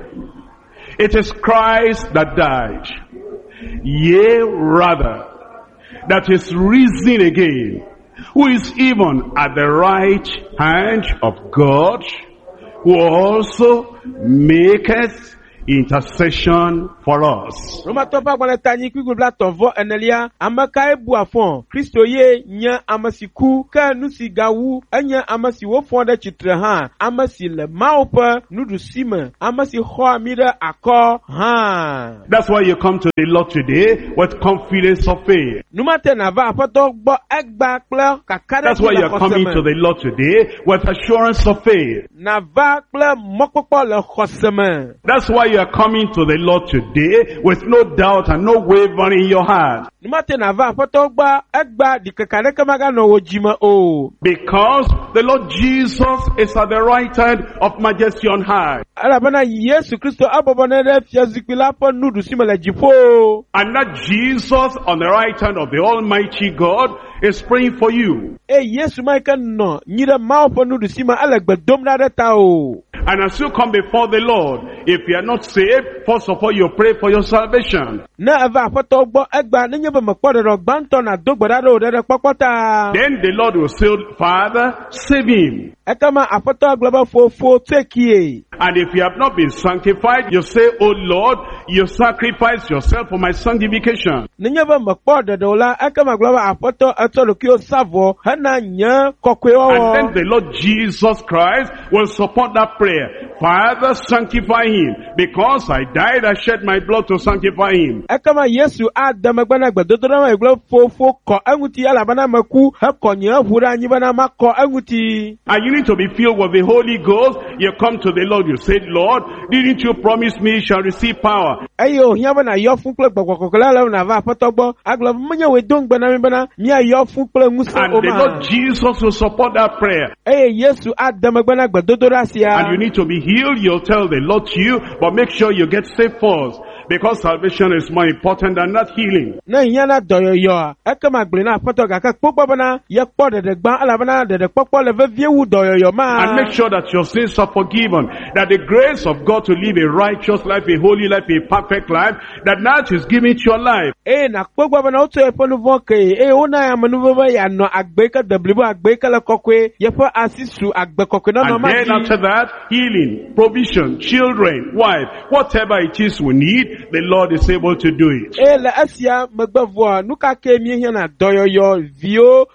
It is Christ that died, yea, rather, that is risen again, who is even at the right hand of God, who also maketh intercession for us. Romatɔwo ƒe agbalẽ ta 4 kpukpui 34. Ame kae bua fɔ? Kristo ye nye ame si ku, ke nu si gawu enye ame si wofɔ ɖe tsitre hã, ame si le Mawu ƒe nuɖusi me, ame si xɔa mí ɖe akɔ hã. That's why you come to the Lord today with confidence of faith. Numate nàva Aƒetɔ gbɔ egbea kple That's kakaɖedzi why le you're coming xɔse to me. the Lord today with assurance of faith. Nàva kple mɔkpɔkpɔ le xɔse me. That's why you are coming to the Lord today with no doubt and no wavering in your heart. Numate nàva Aƒetɔ gbɔ egbea ɖikeke aɖeke maganɔ wò dzime o. Because the Lord Jesus is at the right hand of majesty on high. Elabena Yesu Kristo ebɔbɔ nɔ ɖe fiazikpui la ƒe nuɖusi me le dziƒo. And that Jesus on the right hand of the Almighty God is praying for you. Eye Yesu ma yi ke nɔ nyi ɖe Mawu ƒe nuɖusi me ele gbe dom ɖa ɖe ta o. And as you come before the Lord, if you are not saved, first of all you pray for your salvation. Ne eva Aƒetɔ gbɔ egbea nenye be mekpɔ ɖeɖe gbãtɔ nàdo gbe ɖa ɖe wò ɖeɖekpɔkpɔ ta. Then the Lord will say, Father, save him. Ekema Aƒetɔ gblɔ be fofo tsoe kie. And if you have not been sanctified, you say, Oh Lord, you sacrifice yourself for my sanctification. Nenye be mekpɔ ɖeɖe o la, ekema gblɔ be Aƒetɔ etsɔ ɖokuiwo sa vɔ hena nye And then kɔkɔewɔwɔ. the Lord Jesus Christ will support that prayer. Father, sanctify him. Because I died, I shed my blood to sanctify him. Ekema Yesu ade megbe na gbedodoɖa ma gblɔ fofo kɔ eŋuti elabena meku hekɔ nye ʋu ɖe anyi bena makɔ eŋuti. And you need to be filled with the Holy Ghost. You come to the Lord, you say, Lord, didn't you promise me you shall receive power? Eye wòhiã be nàyɔ fũ kple gbɔgbɔ kɔkɔe la ale be nàva Aƒetɔ gbɔ agblɔ be menye wòe do ŋugbe na mí bena míayɔ fũ kple ŋusẽ And o the ma. Lord Jesus will support that prayer. Eye Yesu ade megbe na gbedodoɖa sia. And you need to be healed, you'll tell the Lord to you, but make sure you get saved first. Because salvation is more important than that healing. Ne hiã na dɔyɔyɔa, ekema gblɔe na Aƒetɔ gake kpɔ gbɔ bena yekpɔ ɖeɖe gbã elabena ɖeɖekpɔkpɔ le vevie wu dɔyɔyɔ ma. And make sure that your sins are forgiven. That the grace of God to live a righteous life, a holy life, a perfect life, that that is given to your life. Eye nàkpɔ gbɔ bena wotsɔ yeƒe nu vɔ̃ kee eye wona amenuveve be yeanɔ agbe yi ke de blibo, agbe yi ke le kɔkɔe, yeƒe asi su agbe kɔkɔe nɔnɔ And ma then dzi. after that, healing, provision, children, wife, whatever it is we need, the Lord is able to do it. Eye le esia megbe vɔa, nu ka ke míehiãna? Dɔyɔyɔ, viwo,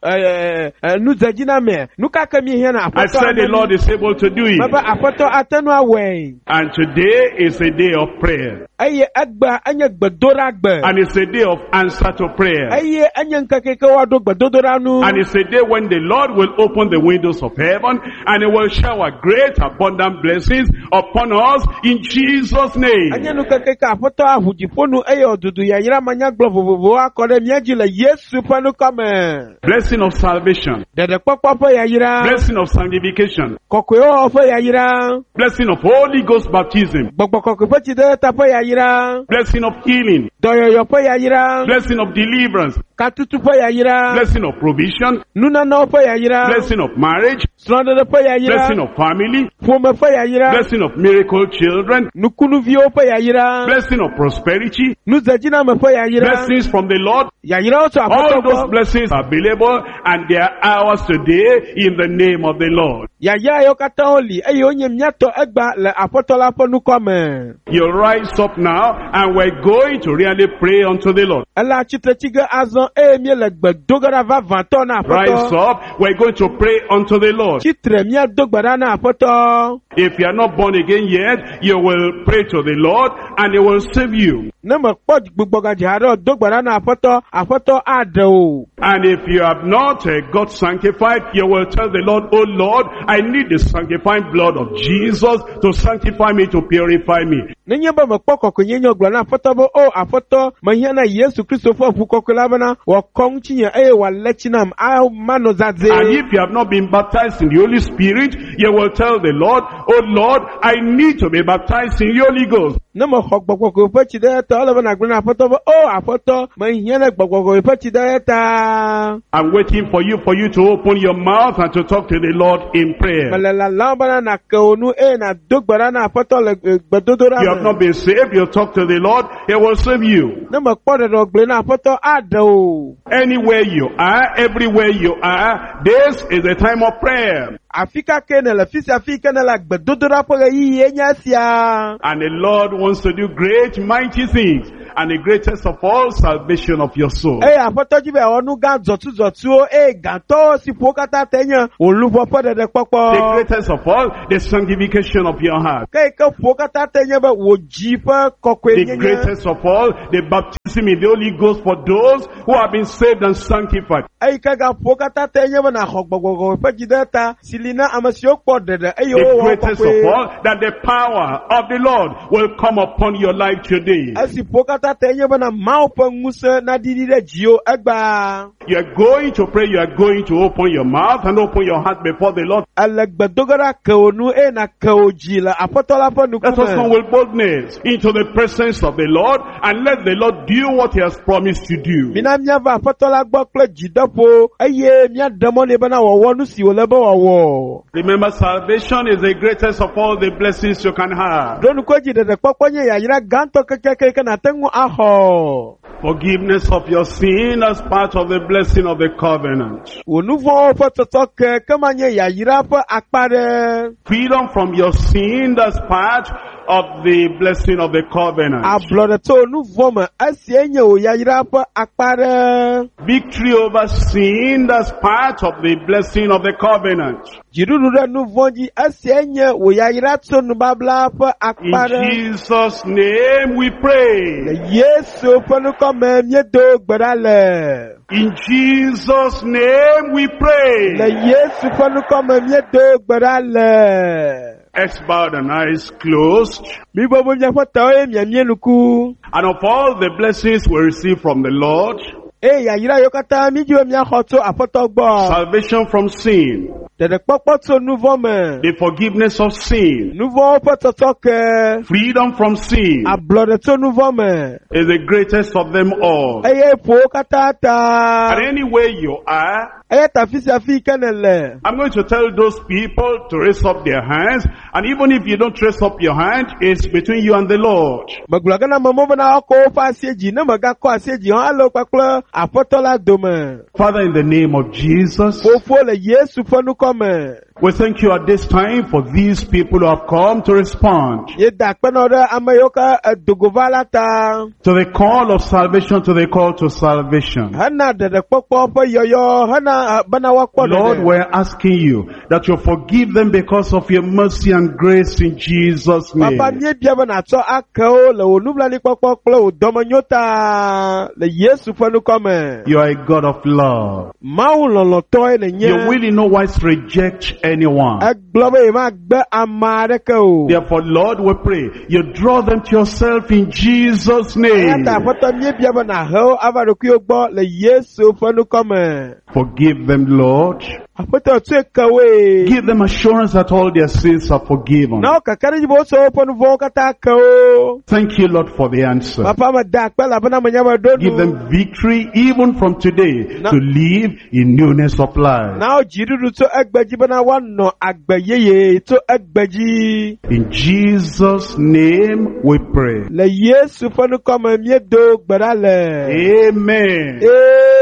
nudzedziname, nu ka ke míehiãna? I Aƒetɔ said the ate Lord is able to do it. mebe Aƒetɔ ate ŋu awɔe. And today is a day of prayer. Eye egbea enye gbedoɖagbe. And it's a day of answer to prayer. Eye enye ŋkeke yi ke woaɖo gbedodoɖa nu. And it's a day when the Lord will open the windows of heaven and he will shower great abundant blessings upon us in Jesus' Enye name. ŋkeke yi ke Aƒetɔ aʋu dziƒo nu eye wòdudu yayra manyagblɔ vovovowo akɔ ɖe mía dzi le Yesu ƒe ŋkɔ me. Blessing of salvation, Ɖeɖekpɔkpɔ ƒe yayra, blessing of sanctification, kɔkɔewɔwɔ ƒe yayra, blessing of Holy Ghost baptism, gbɔgbɔ kɔkɔe ƒe tsidedeta ƒe yayra, blessing of healing, dɔyɔyɔ ƒe yayra, blessing of deliverance, katutu ƒe yayra, blessing of provision, nunanawo ƒe yayra, blessing of marriage, srɔ̃ɖeɖe ƒe yayra, blessing of family, ƒome ƒe yayra, blessing of miracle children, nukunuviwo ƒe yayra, blessing of prosperity, nudzedziname ƒe yayra, blessings from the Lord. yayrawo tso All Aƒetɔ those gbɔ. blessings are available and they are ours today in the name of the Lord. Yayra yiwo katã woli eye wonye míatɔ egbea le Aƒetɔ la ƒe ŋkɔ me. You rise up now and we're going to really pray unto the Lord. Ele atsitre tsi ge azɔ eye míele gbe do ge ɖa vavãtɔ na Rise Aƒetɔ. up, we're going to pray unto the Lord. Tsitre míado gbe ɖa na Aƒetɔ. If you are not born again yet, you will pray to the Lord and he will save you. Ne mekpɔ gbugbɔgadze haɖe o, do gbe ɖa na Aƒetɔ, Aƒetɔ aɖe wò. And if you have not got sanctified, you will tell the Lord, Oh Lord, I need the sanctifying blood of Jesus to sanctify me, to purify me. Nenye be mekpɔ kɔkɔenyenye o, gblɔ na Aƒetɔ be, O Aƒetɔ, mehiã na Yesu Kristo ƒe ʋu kɔkɔe la bena wòakɔ ŋutinye eye wòalé tsi nam manɔ zazɛ̃. And if you have not been baptized in the Holy Spirit, you will tell the Lord, Oh Lord, I need to be baptized in the Holy Ghost. Ne mexɔ Gbɔgbɔ Kɔkɔe ƒe tsi ɖe eya ta, ele be nàgblɔ na Aƒetɔ be, O Aƒetɔ, mehiã na Gbɔgbɔ Kɔkɔe ƒe tsi ɖe eya ta. I'm waiting for you to open your mouth and to talk to the Lord in prayer. Mele lalam bena nàke wò nu eye nàdo gbe ɖa na Aƒetɔ le gbedodoɖa You have me. not been saved, you talk to the Lord, He will save you. Ne mekpɔ ɖeɖe o, gblɔe na Aƒetɔ aɖe wò. Anywhere you are, everywhere you are, this is the time of prayer. Afi ka ke nèle, fi sia fi ke nèle, gbedodoɖa ƒe ɣeyiɣie nye esia. And the Lord wants to do great, mighty things. And the greatest of all, salvation of your soul. Eye Aƒetɔ dzi be yeawɔ nu gã dzɔtsudzɔtsuwo eye gãtɔwo si ƒo wo katã te nye wò luʋɔ ƒe ɖeɖekpɔkpɔ. The greatest of all, the sanctification of your heart. Ke yi ke ƒo wo katã te nye be wò dzi ƒe The kɔkɔenyenye. greatest of all, the baptism in the Holy Ghost for those who have been saved and sanctified. Eyi ke gaƒo wo katã te nye be nàxɔ Gbɔgbɔ Kɔkɔe ƒe dzi ɖe ta si li na ame siwo kpɔ ɖeɖe eye The wowɔ greatest kɔkɔe. of all, that the power of the Lord will come upon your life today. Esi ƒo wo katã te nye bena Mawu ƒe ŋusẽ naɖiɖi ɖe dziwò egbea. You are going to pray, you are going to open your mouth and open your heart before the Lord. Ele gbedoge ɖa ke wò nu eye nàke wò dzi le Aƒetɔ la ƒe Let us come ŋkume. with boldness into the presence of the Lord and let the Lord do what he has promised to do. Mina míava Aƒetɔ la gbɔ kple dzideƒo eye míaɖe mɔ nɛ bena wòawɔ nu si wòle be wòawɔ. Remember, salvation is the greatest of all the blessings you can have. Ɖo ŋku edzi ɖeɖekpɔkpɔ nye yayra gãtɔ kekeake yi ke nàte ŋu axɔ. Forgiveness of your sin as part of the blessing of the covenant. Wò nu vɔ̃wo ƒe tsɔtsɔke ke manye yayra ƒe akpa ɖe. Freedom from your sin as part of the blessing of the covenant. Ablɔɖe tso nu vɔ̃ me esie nye wò yayra ƒe akpa ɖe. Victory over sin as part of the blessing of the covenant. Dziɖuɖu ɖe nu vɔ̃ dzi esie nye wò yayra tso nubabla ƒe In akpa ɖe. Jesus' name we pray. Le Yesu ƒe ŋkɔ me míedo gbe ɖa le. In Jesus' name we Le pray. Yesu ƒe ŋkɔ me míedo gbe ɖa le. Heads bowed and eyes closed. Mibɔbɔ miaƒe tawo eye miamie nuku. And of all the blessings we receive from the Lord, Eye yayra yiwo katã mídi be míaxɔ tso Aƒetɔ gbɔ. salvation from sin, Ɖeɖekpɔkpɔ tso nu vɔ̃ me. the forgiveness of sin, Nu vɔ̃wo ƒe tsɔtsɔke. freedom from sin Ablɔɖe tso nu vɔ̃ me. is the greatest of them all. Eye ƒo wo katã ta. And anywhere you are, Eya ta fi sia fi yi ke nèle. I'm going to tell those people to raise up their hands. And even if you don't raise up your hand, it's between you and the Lord. Megblɔ ge na amewo bena woakɔ woƒe asie dzi. Ne mègakɔ asie dzi hã, ele wo kpakple Aƒetɔ la dome. Father, in the name of Jesus, Fofo le Yesu ƒe ŋkɔ me. we thank you at this time for these people who have come to respond Míeda akpe na wo ɖe ame yiwo ke edogo va la ta. to the call of salvation, to the call to salvation. Hena ɖeɖekpɔkpɔ ƒe yɔyɔ, hena bena woakpɔ Lord, ɖeɖe. we're asking you that you forgive them because of your mercy and grace in Jesus' name. Papa míebia be nàtsɔ ake wo le wò nublanuikpɔkpɔ kple wò dɔmenyo ta le Yesu ƒe ŋkɔ me. You are a God of love. Mawu lɔlɔ̃tɔe nènye. You will in no wise reject anyone. Egblɔ be yemagbe ame aɖeke o. Therefore, Lord, we pray you draw them to yourself in Jesus' Eya name. ta Aƒetɔ míebia be nàhe wo ava ɖokuiwo gbɔ le Yesu ƒe ŋkɔ me. Forgive them, Lord. Aƒetɔ tsɔe ke woe. Give them assurance that all their sins are forgiven. Na wo kakaɖedzi be wotsɔ woƒe nu vɔ̃wo katã ke wo. Thank you, Lord, for the answer. Papa meda akpe elabena menya be ɖo Give nu. them victory even from today No. to live in newness of life. Na wo dziɖuɖu tso egbe dzi bena woanɔ agbe yeye tso egbe dzi. In Jesus' name we pray. Le Yesu ƒe ŋkɔ me míedo gbe ɖa le. Amen.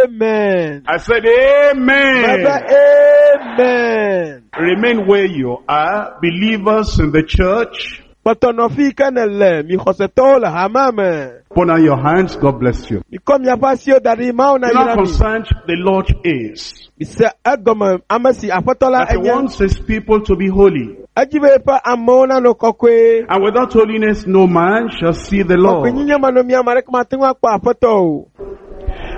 Amen. I said Mebe amen. amen. Remain where you are, believers in the church. Kpɔtɔ nɔ fi yi ke nèle, mi xɔsetɔwo le hamea me. Put on your hands, God bless you. Mikɔ miaƒe asiwo da ɖi, Mawu You nayra know how mi. concerned the Lord is Mise egɔme ame si Aƒetɔ la that he enye wants his people to be holy. Edzi be yeƒe amewo nanɔ kɔkɔe. And without holiness, no man shall see the Lord. Kɔkɔenyenye manɔ mía ame aɖeke mate ŋu akpɔ Aƒetɔ o.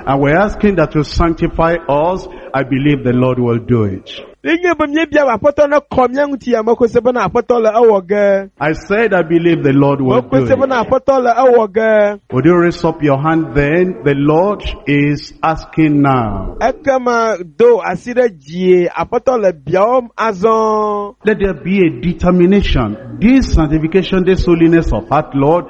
And we're asking that you sanctify us. I believe the Lord will do it. Nenye be míebia be Aƒetɔ nekɔ mía ŋuti ya mexɔe se bena Aƒetɔ le ewɔ ge. I said I believe the Lord will do Mexɔe se bena it. Aƒetɔ le ewɔ ge. Would you raise up your hand then? The Lord is asking now. Ekema do asi ɖe dzie Aƒetɔ le biawɔm azɔ. Let there be a determination. This sanctification, this holiness of heart, Lord,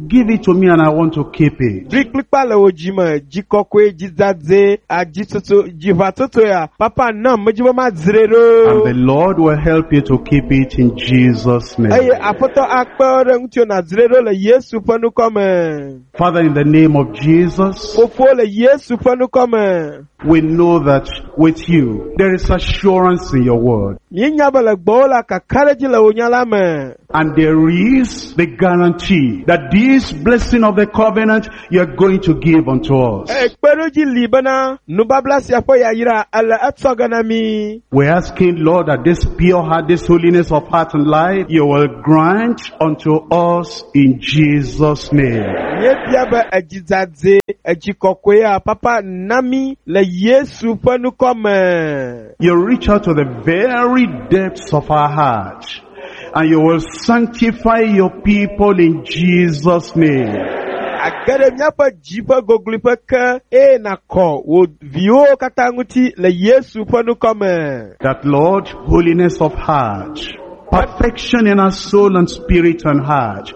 give it to me and I want to keep it. Ɖoe kplikpa le wò dzime, dzi kɔkɔe, dzi dzadzɛ, adzitsotso, dziʋatsotso ya. Papa nam medzi be madzrae And the ɖo. Lord will help you to keep it in Jesus' name. Eye Aƒetɔ akpe ɖe ŋutiwò nàdzrae ɖo le Yesu ƒe ŋkɔ me. Father, in the name of Jesus, Fofo le Yesu ƒe ŋkɔ me. we know that with you, there is assurance in your word. Míenya be le gbɔwò la kakaɖedzi le wò nya la me. And there is the guarantee that this blessing of the covenant you are going to give unto us. Eye kpeɖodzi li bena nubabla sia ƒe yayra ele etsɔ ge na mí. We're asking, Lord, that this pure heart, this holiness of heart and life, you will grant unto us in Jesus' name. Míebia be edzi dzadzɛ, edzi kɔkɔea, papa na mí le Yesu ƒe ŋkɔ me. You reach out to the very depths of our heart and you will sanctify your people in Jesus' name. Age ɖe míaƒe dzi ƒe gogloƒe ke eye nàkɔ wò viwo katã ŋuti le Yesu ƒe ŋkɔ me. That Lord, holiness of heart, perfection in our soul and spirit and heart,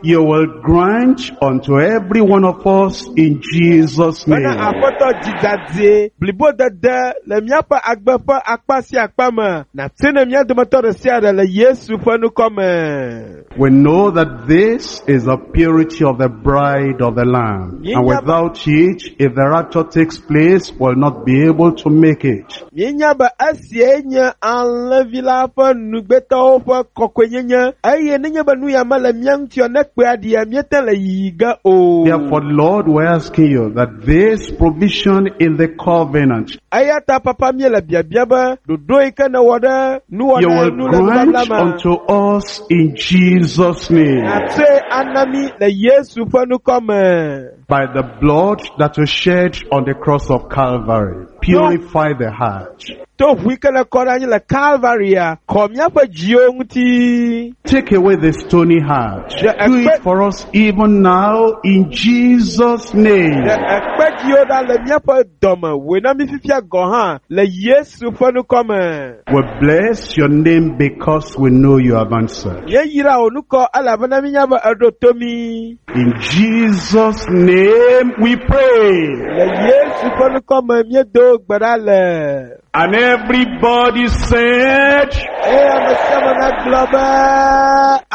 you will grant unto every one of us in Jesus' Bena name. Aƒetɔ dzi dzadzɛ, blibodede le míaƒe agbe ƒe akpa sia akpa me, nàte ne mía dometɔ ɖe sia ɖe le Yesu ƒe ŋkɔ me. We know that this is the purity of the bride of the Lamb. And without it, if the rapture takes place, we'll not be able to make it. Míenya be esiae nye alẽvi la ƒe nugbetɔwo ƒe kɔkɔenyenye eye nenye be nu ya mele mía ŋuti o ne kpea ɖia míete le yiyi ge o. Therefore, Lord, we're asking you that this provision in the covenant, Eya ta papa míele biabia be ɖoɖo yi ke nèwɔ ɖe you nuwɔna will nu le nubabla grant me. unto us in Jesus' name. Nàtsɔe ana mí le Yesu ƒe ŋkɔ me. By the blood that was shed on the cross of Calvary, purify the heart. To ʋu yi ke le kɔ ɖe anyi le Kalvaria, kɔ míaƒe dziwo ŋuti. Take away the stony heart. Do it for us even now in Jesus' name. Ɖe ekpe dziwo ɖa le míaƒe dɔme, wòe na mí fifia gɔ̃ hã le Yesu ƒe ŋkɔ me. We bless your name because we know you have answered. Míeyra wò ŋkɔ elabena míenya be eɖo to mí. In Jesus' name we pray. Le Yesu ƒe ŋkɔ me míedo gbe ɖa le. And everybody said, Eye ame sia ame nagblɔ be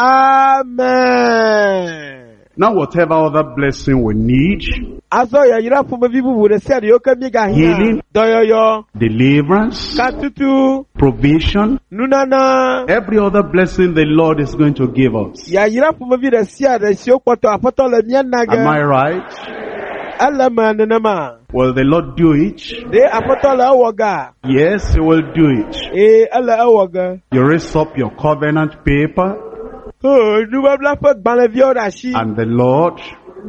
amen. now whatever other blessing we need, Azɔ yayra ƒomevi bubu ɖe sia ɖe yiwo ke míegahiã. Healing. Dɔyɔyɔ, deliverance, katutu, provision, nunana. every other blessing the Lord is going to give us. Yayra ƒomevi ɖe sia ɖe siwo kpɔtɔ Aƒetɔ le mía na Am I ge. right? Ele me nenema. Will the Lord do it? Ɖe Aƒetɔ le ewɔ gea? Yes, He will do it. Ee, ele ewɔ ge. You raise up your covenant paper Oh, nubabla ƒe gbalẽviawo ɖe asi. and the Lord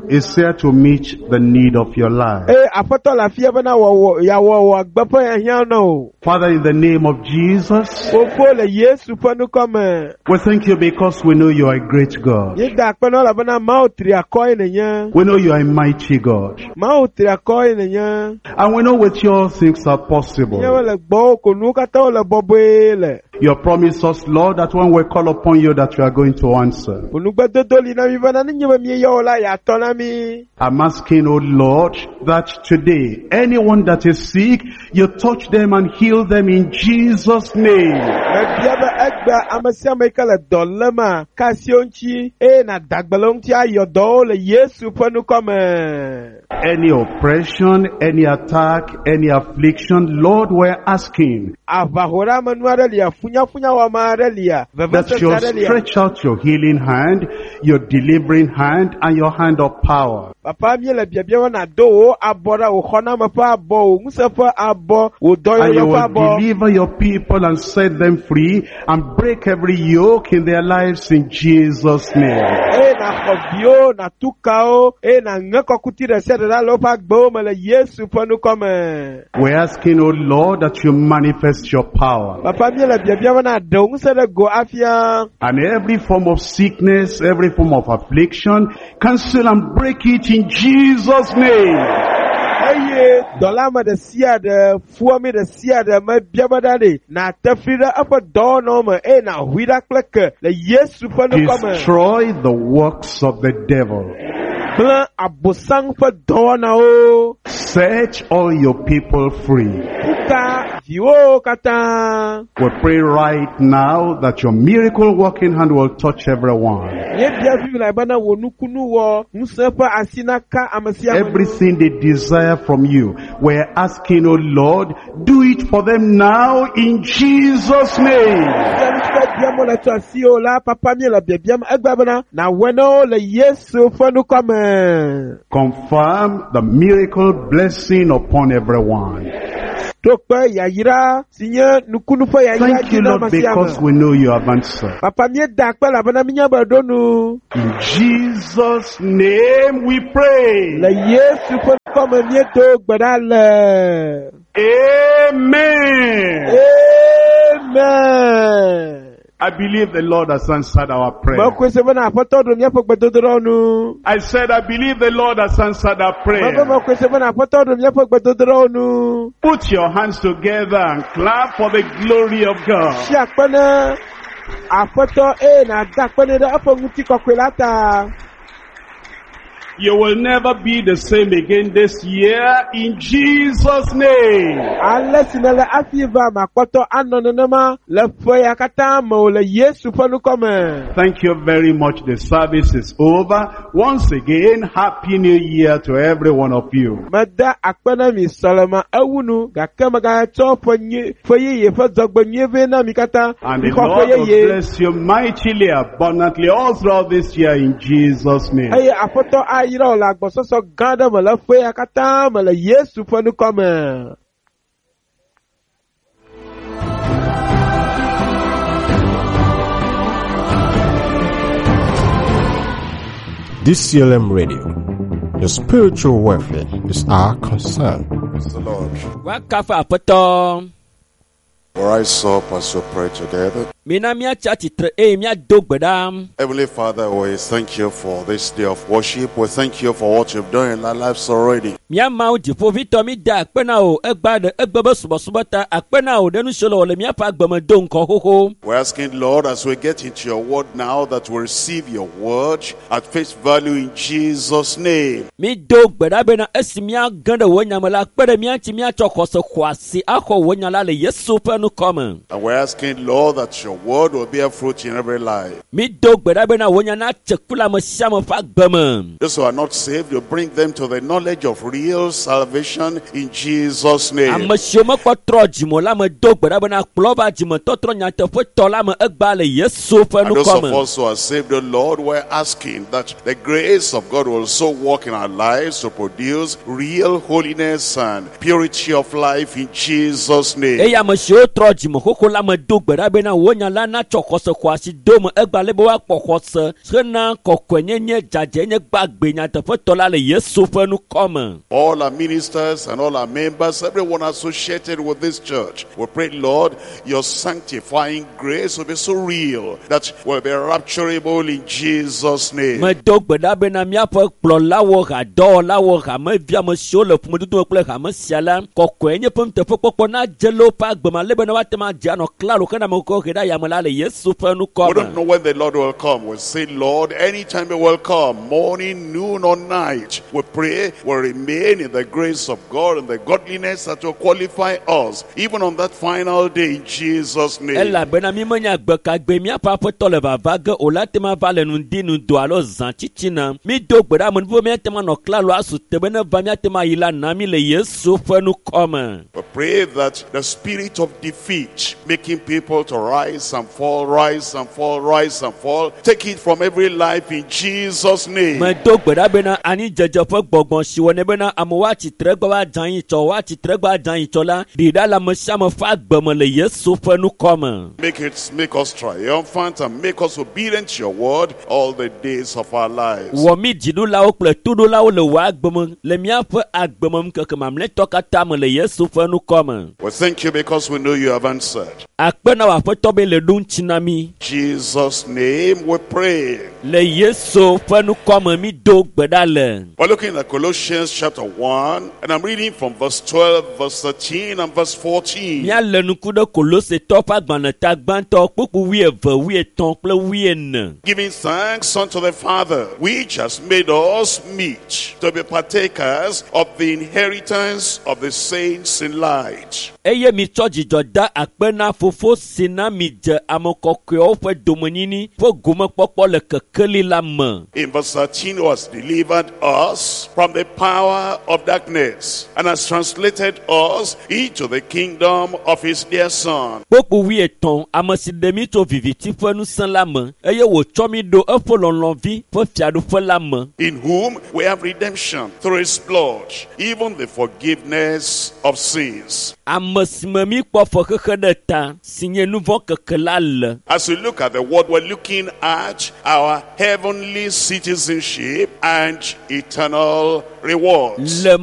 is here to meet the need of your life. Eye Aƒetɔ le afia bena wòawɔ yeawɔ wò agbe ƒe hiahiã na wò. Father, in the name of Jesus, Fofo le Yesu ƒe ŋkɔ me. we thank you because we know you are a great God. Míeda akpe na wò elabena Mawu tri akɔ ye nènye. We know you are a mighty God. Mawu tri akɔ ye nènye. And we know with you all things are possible. Míawo le gbɔwò ko nuwo katã wole bɔbɔe le. You promise us, Lord, that when we call upon you that you are going to answer. Wò nugbedodo li na mí bena nenye be míeyɔ wò la, yeatɔ na mí. I'm asking, oh Lord, that today, anyone that is sick, you touch them and heal them in Jesus' name. Mebia be egbea ame sia ame yi ke le dɔ lémea, ka asi wo ŋuti eye nàda gbe le wo ŋuti ayɔ dɔwo le Yesu ƒe ŋkɔ me. Any oppression, any attack, any affliction, Lord, we're asking Aʋahoɖeamenu aɖe lia, funyafunyawɔame aɖe lia, That vevesese you'll aɖe lia. stretch out your healing hand, your delivering hand, and your hand of power. Papa míele biabia be nàdo wò abɔ ɖa, wò xɔname ƒe abɔ, wò ŋusẽ ƒe abɔ, wò And dɔyɔyɔ you ƒe will abɔ. deliver your people and set them free and break every yoke in their lives in Jesus' name. Eye nàxɔ viwo, nàtu kawo, eye nàŋe kɔkuti ɖe sia ɖe ɖa le woƒe agbewo me le Yesu ƒe ŋkɔ me. We're asking, O Lord, that you manifest your power. Papa míele biabia be nàɖe wò ŋusẽ ɖe go afia. And every form of sickness, every form of affliction, cancel and break it in Jesus' name. Eye dɔlame ɖe sia ɖe, fuwɔame ɖe sia ɖe mebia be ɖa ɖe, nàte fli ɖe eƒe dɔwɔnawo me eye nàhui ɖa kple ke le Yesu ƒe ŋkɔ me. Destroy the works of the devil. Gblẽ Abosam ƒe dɔwɔnawo. Set all your people free. Kuka viwo katã. We pray right now that your miracle working hand will touch everyone. Míebia Biblia bena wò nukunu wɔ ŋusẽ ƒe asi naka ame sia ame. Everything they desire from you, we're asking, oh Lord, do it for them now in Jesus' name. Bia nu si ke biam wole tso asiwò la, papa míele biabiam egbea bena nàwɔe na wo le Yesu ƒe ŋkɔ me. Confirm the miracle blessing upon everyone. Ɖo kpe yayra si nye nukunu ƒe yayra Thank dzi you, na Lord, ame sia because ame. we know you have answered. Papa míeda akpe elabena míenya be ɖo nu. In Jesus' name we pray. Le Yesu ƒe ŋkɔ me míedo gbe ɖa le. Amen. Amen. I believe the Lord has answered our prayer. Mekɔe se bena Aƒetɔ ɖo míaƒe gbedodoɖawo nu. I said, I believe the Lord has answered our Mebe prayer. mekɔe se bena Aƒetɔ ɖo míaƒe gbedodoɖawo nu. Put your hands together and clap for the glory of God. Tsi akpe ne Aƒetɔ eye nàda akpe nɛ ɖe eƒe ŋutikɔkɔe la ta. You will never be the same again this year in Jesus' name. Ale si nèle hafi va makpɔtɔ anɔ nenema le ƒe ya katã me o le Yesu ƒe ŋkɔ me. Thank you very much. The service is over. Once again, Happy New Year to every one of you. Meda akpe na mi sɔleme ewu nu gake megatsɔ ƒe nyui ƒe yeye ƒe dzɔgbe nyui vɛ na mi katã. And the Mixɔ ƒe Lord will yeye. bless you mightily, abundantly, all throughout this year in Jesus' name. Eye Aƒetɔ ayra wò le agbɔsɔsɔ gã aɖe me le ƒe ya katã me le Yesu ƒe ŋkɔ me. DCLM Radio. Your spiritual welfare is our concern. Praise the Lord. Woakafu Aƒetɔ. We rise up as we pray together. Mina míatsi atsitre eye míado gbe ɖa. Heavenly Father, we thank you for this day of worship. We thank you for what you've done in our lives already. Mía Mawu dziƒovitɔ mi da akpe na wò egbea ɖe egbe be subɔsubɔ ta akpe na wò ɖe nu siwo le wɔ le míaƒe agbe me do ŋkɔ xoxo. We're asking, Lord, as we get into your word now, that we receive your word at face value in Jesus' name. Mi do gbe ɖa bena esi míage ɖe wò nya me la kpe ɖe mía ŋuti míatsɔ xɔse xɔasi axɔ wò nya la le Yesu ƒe ŋkɔ me. And we're asking, Lord, that your word will bear fruit in every life. Mi do gbe ɖa bena wò nya natse ku le ame sia ame ƒe agbe me. Those who are not saved, you bring them to the knowledge of real salvation in Jesus' name. Ame siwo mekpɔ trɔ dzime o la me do gbe ɖa bena kplɔ va dzimetɔtrɔ nyateƒetɔ la me egbea le Yesu ƒe And those ŋkɔ of me. us who are saved, the Lord, we're asking that the grace of God will so work in our lives to produce real holiness and purity of life in Jesus' name. Eye ame siwo trɔ dzime xoxo la me do gbe ɖa bena wò nya la natsɔ xɔse xɔasi do me egbea ale be woakpɔ xɔse hena kɔkɔenyenye dzadzɛnye gbagbe nyateƒetɔ la le Yesu ƒe ŋkɔ me. All our ministers and all our members, everyone associated with this church, we pray, Lord, your sanctifying grace will be so real that we'll be rapturable in Jesus' name. Medo gbe ɖa bena míaƒe kplɔlawo, hadɔwɔlawo, hamevi ame siwo le ƒomedodo me kple hame sia la, kɔkɔenye ƒe nuteƒekpɔkpɔ nadze le woƒe agbe me ale bena woate ŋu adze anɔ klalo hena ame kɔkɔ he ɖe yame la le Yesu ƒe We don't nukɔ know me. when the Lord will come. We say, Lord, anytime you will come, morning, noon, or night. We pray we remain in the grace of God and the godliness that will qualify us, even on that final day in Jesus' name. Elabena mi menya gbe ka gbe míaƒe aƒetɔ le vava ge o la te ma va le ŋdi ŋdɔ alo zã tsitsina. Mi do gbe ɖa amenuvo míate ma nɔ klalo asu te be ne va míate ma yi la na mi le Yesu ƒe nukɔ me. We pray that the spirit of defeat, making people to rise and fall, rise and fall, rise and fall, take it from every life in Jesus' name. Medo gbe ɖa bena anidzedze ƒe gbɔgbɔ si wɔnɛ bena amewo atsitre gbe woadze anyi tsɔ woatsitre gbe adze anyi tsɔ la ɖi ɖa le ame sia ame ƒe agbe me le Yesu ƒe nukɔ me. Make us triumphant and make us obedient to your word all the days of our lives. Wɔ mí dziɖulawo kple toɖolawo le wò agbe me le míaƒe agbe me ŋkeke mamlɛtɔ katã me le Yesu ƒe nukɔ me. We thank you because we know you have answered. Akpe na wò aƒetɔ be le ɖo ŋuti na mí. Jesus' name we pray. Le Yesu ƒe nukɔ me mí do gbe ɖa le. We're looking at Colossians chapter 1, and I'm reading from verse 12, verse 13, and verse 14. Míalé ŋku ɖe Kolosetɔ ƒe agbalẽ gbãtɔ kpukpu 12, 13 kple 14. Giving thanks unto the Father, which has made us meet to be partakers of the inheritance of the saints in light. Eye mitsɔ dzidzɔ da akpe na fofo si na mi dze ame kɔkɔewo ƒe domenyini ƒe gomekpɔkpɔ le kekeli la me. In verse 13, who has delivered us from the power of darkness and has translated us into the kingdom of his dear Son. Kpukpu 13, ame si ɖe mí tso viviti ƒe ŋusẽ la me eye wòtsɔ mí ɖo eƒe lɔlɔ̃vi ƒe fiaɖuƒe la me. In whom we have redemption through his blood, even the forgiveness of sins. Ame si me mí kpɔ fexexe ɖe ta si nye nu vɔ̃ keke la le. As we look at the word, we're looking at our heavenly citizenship and eternal rewards. Le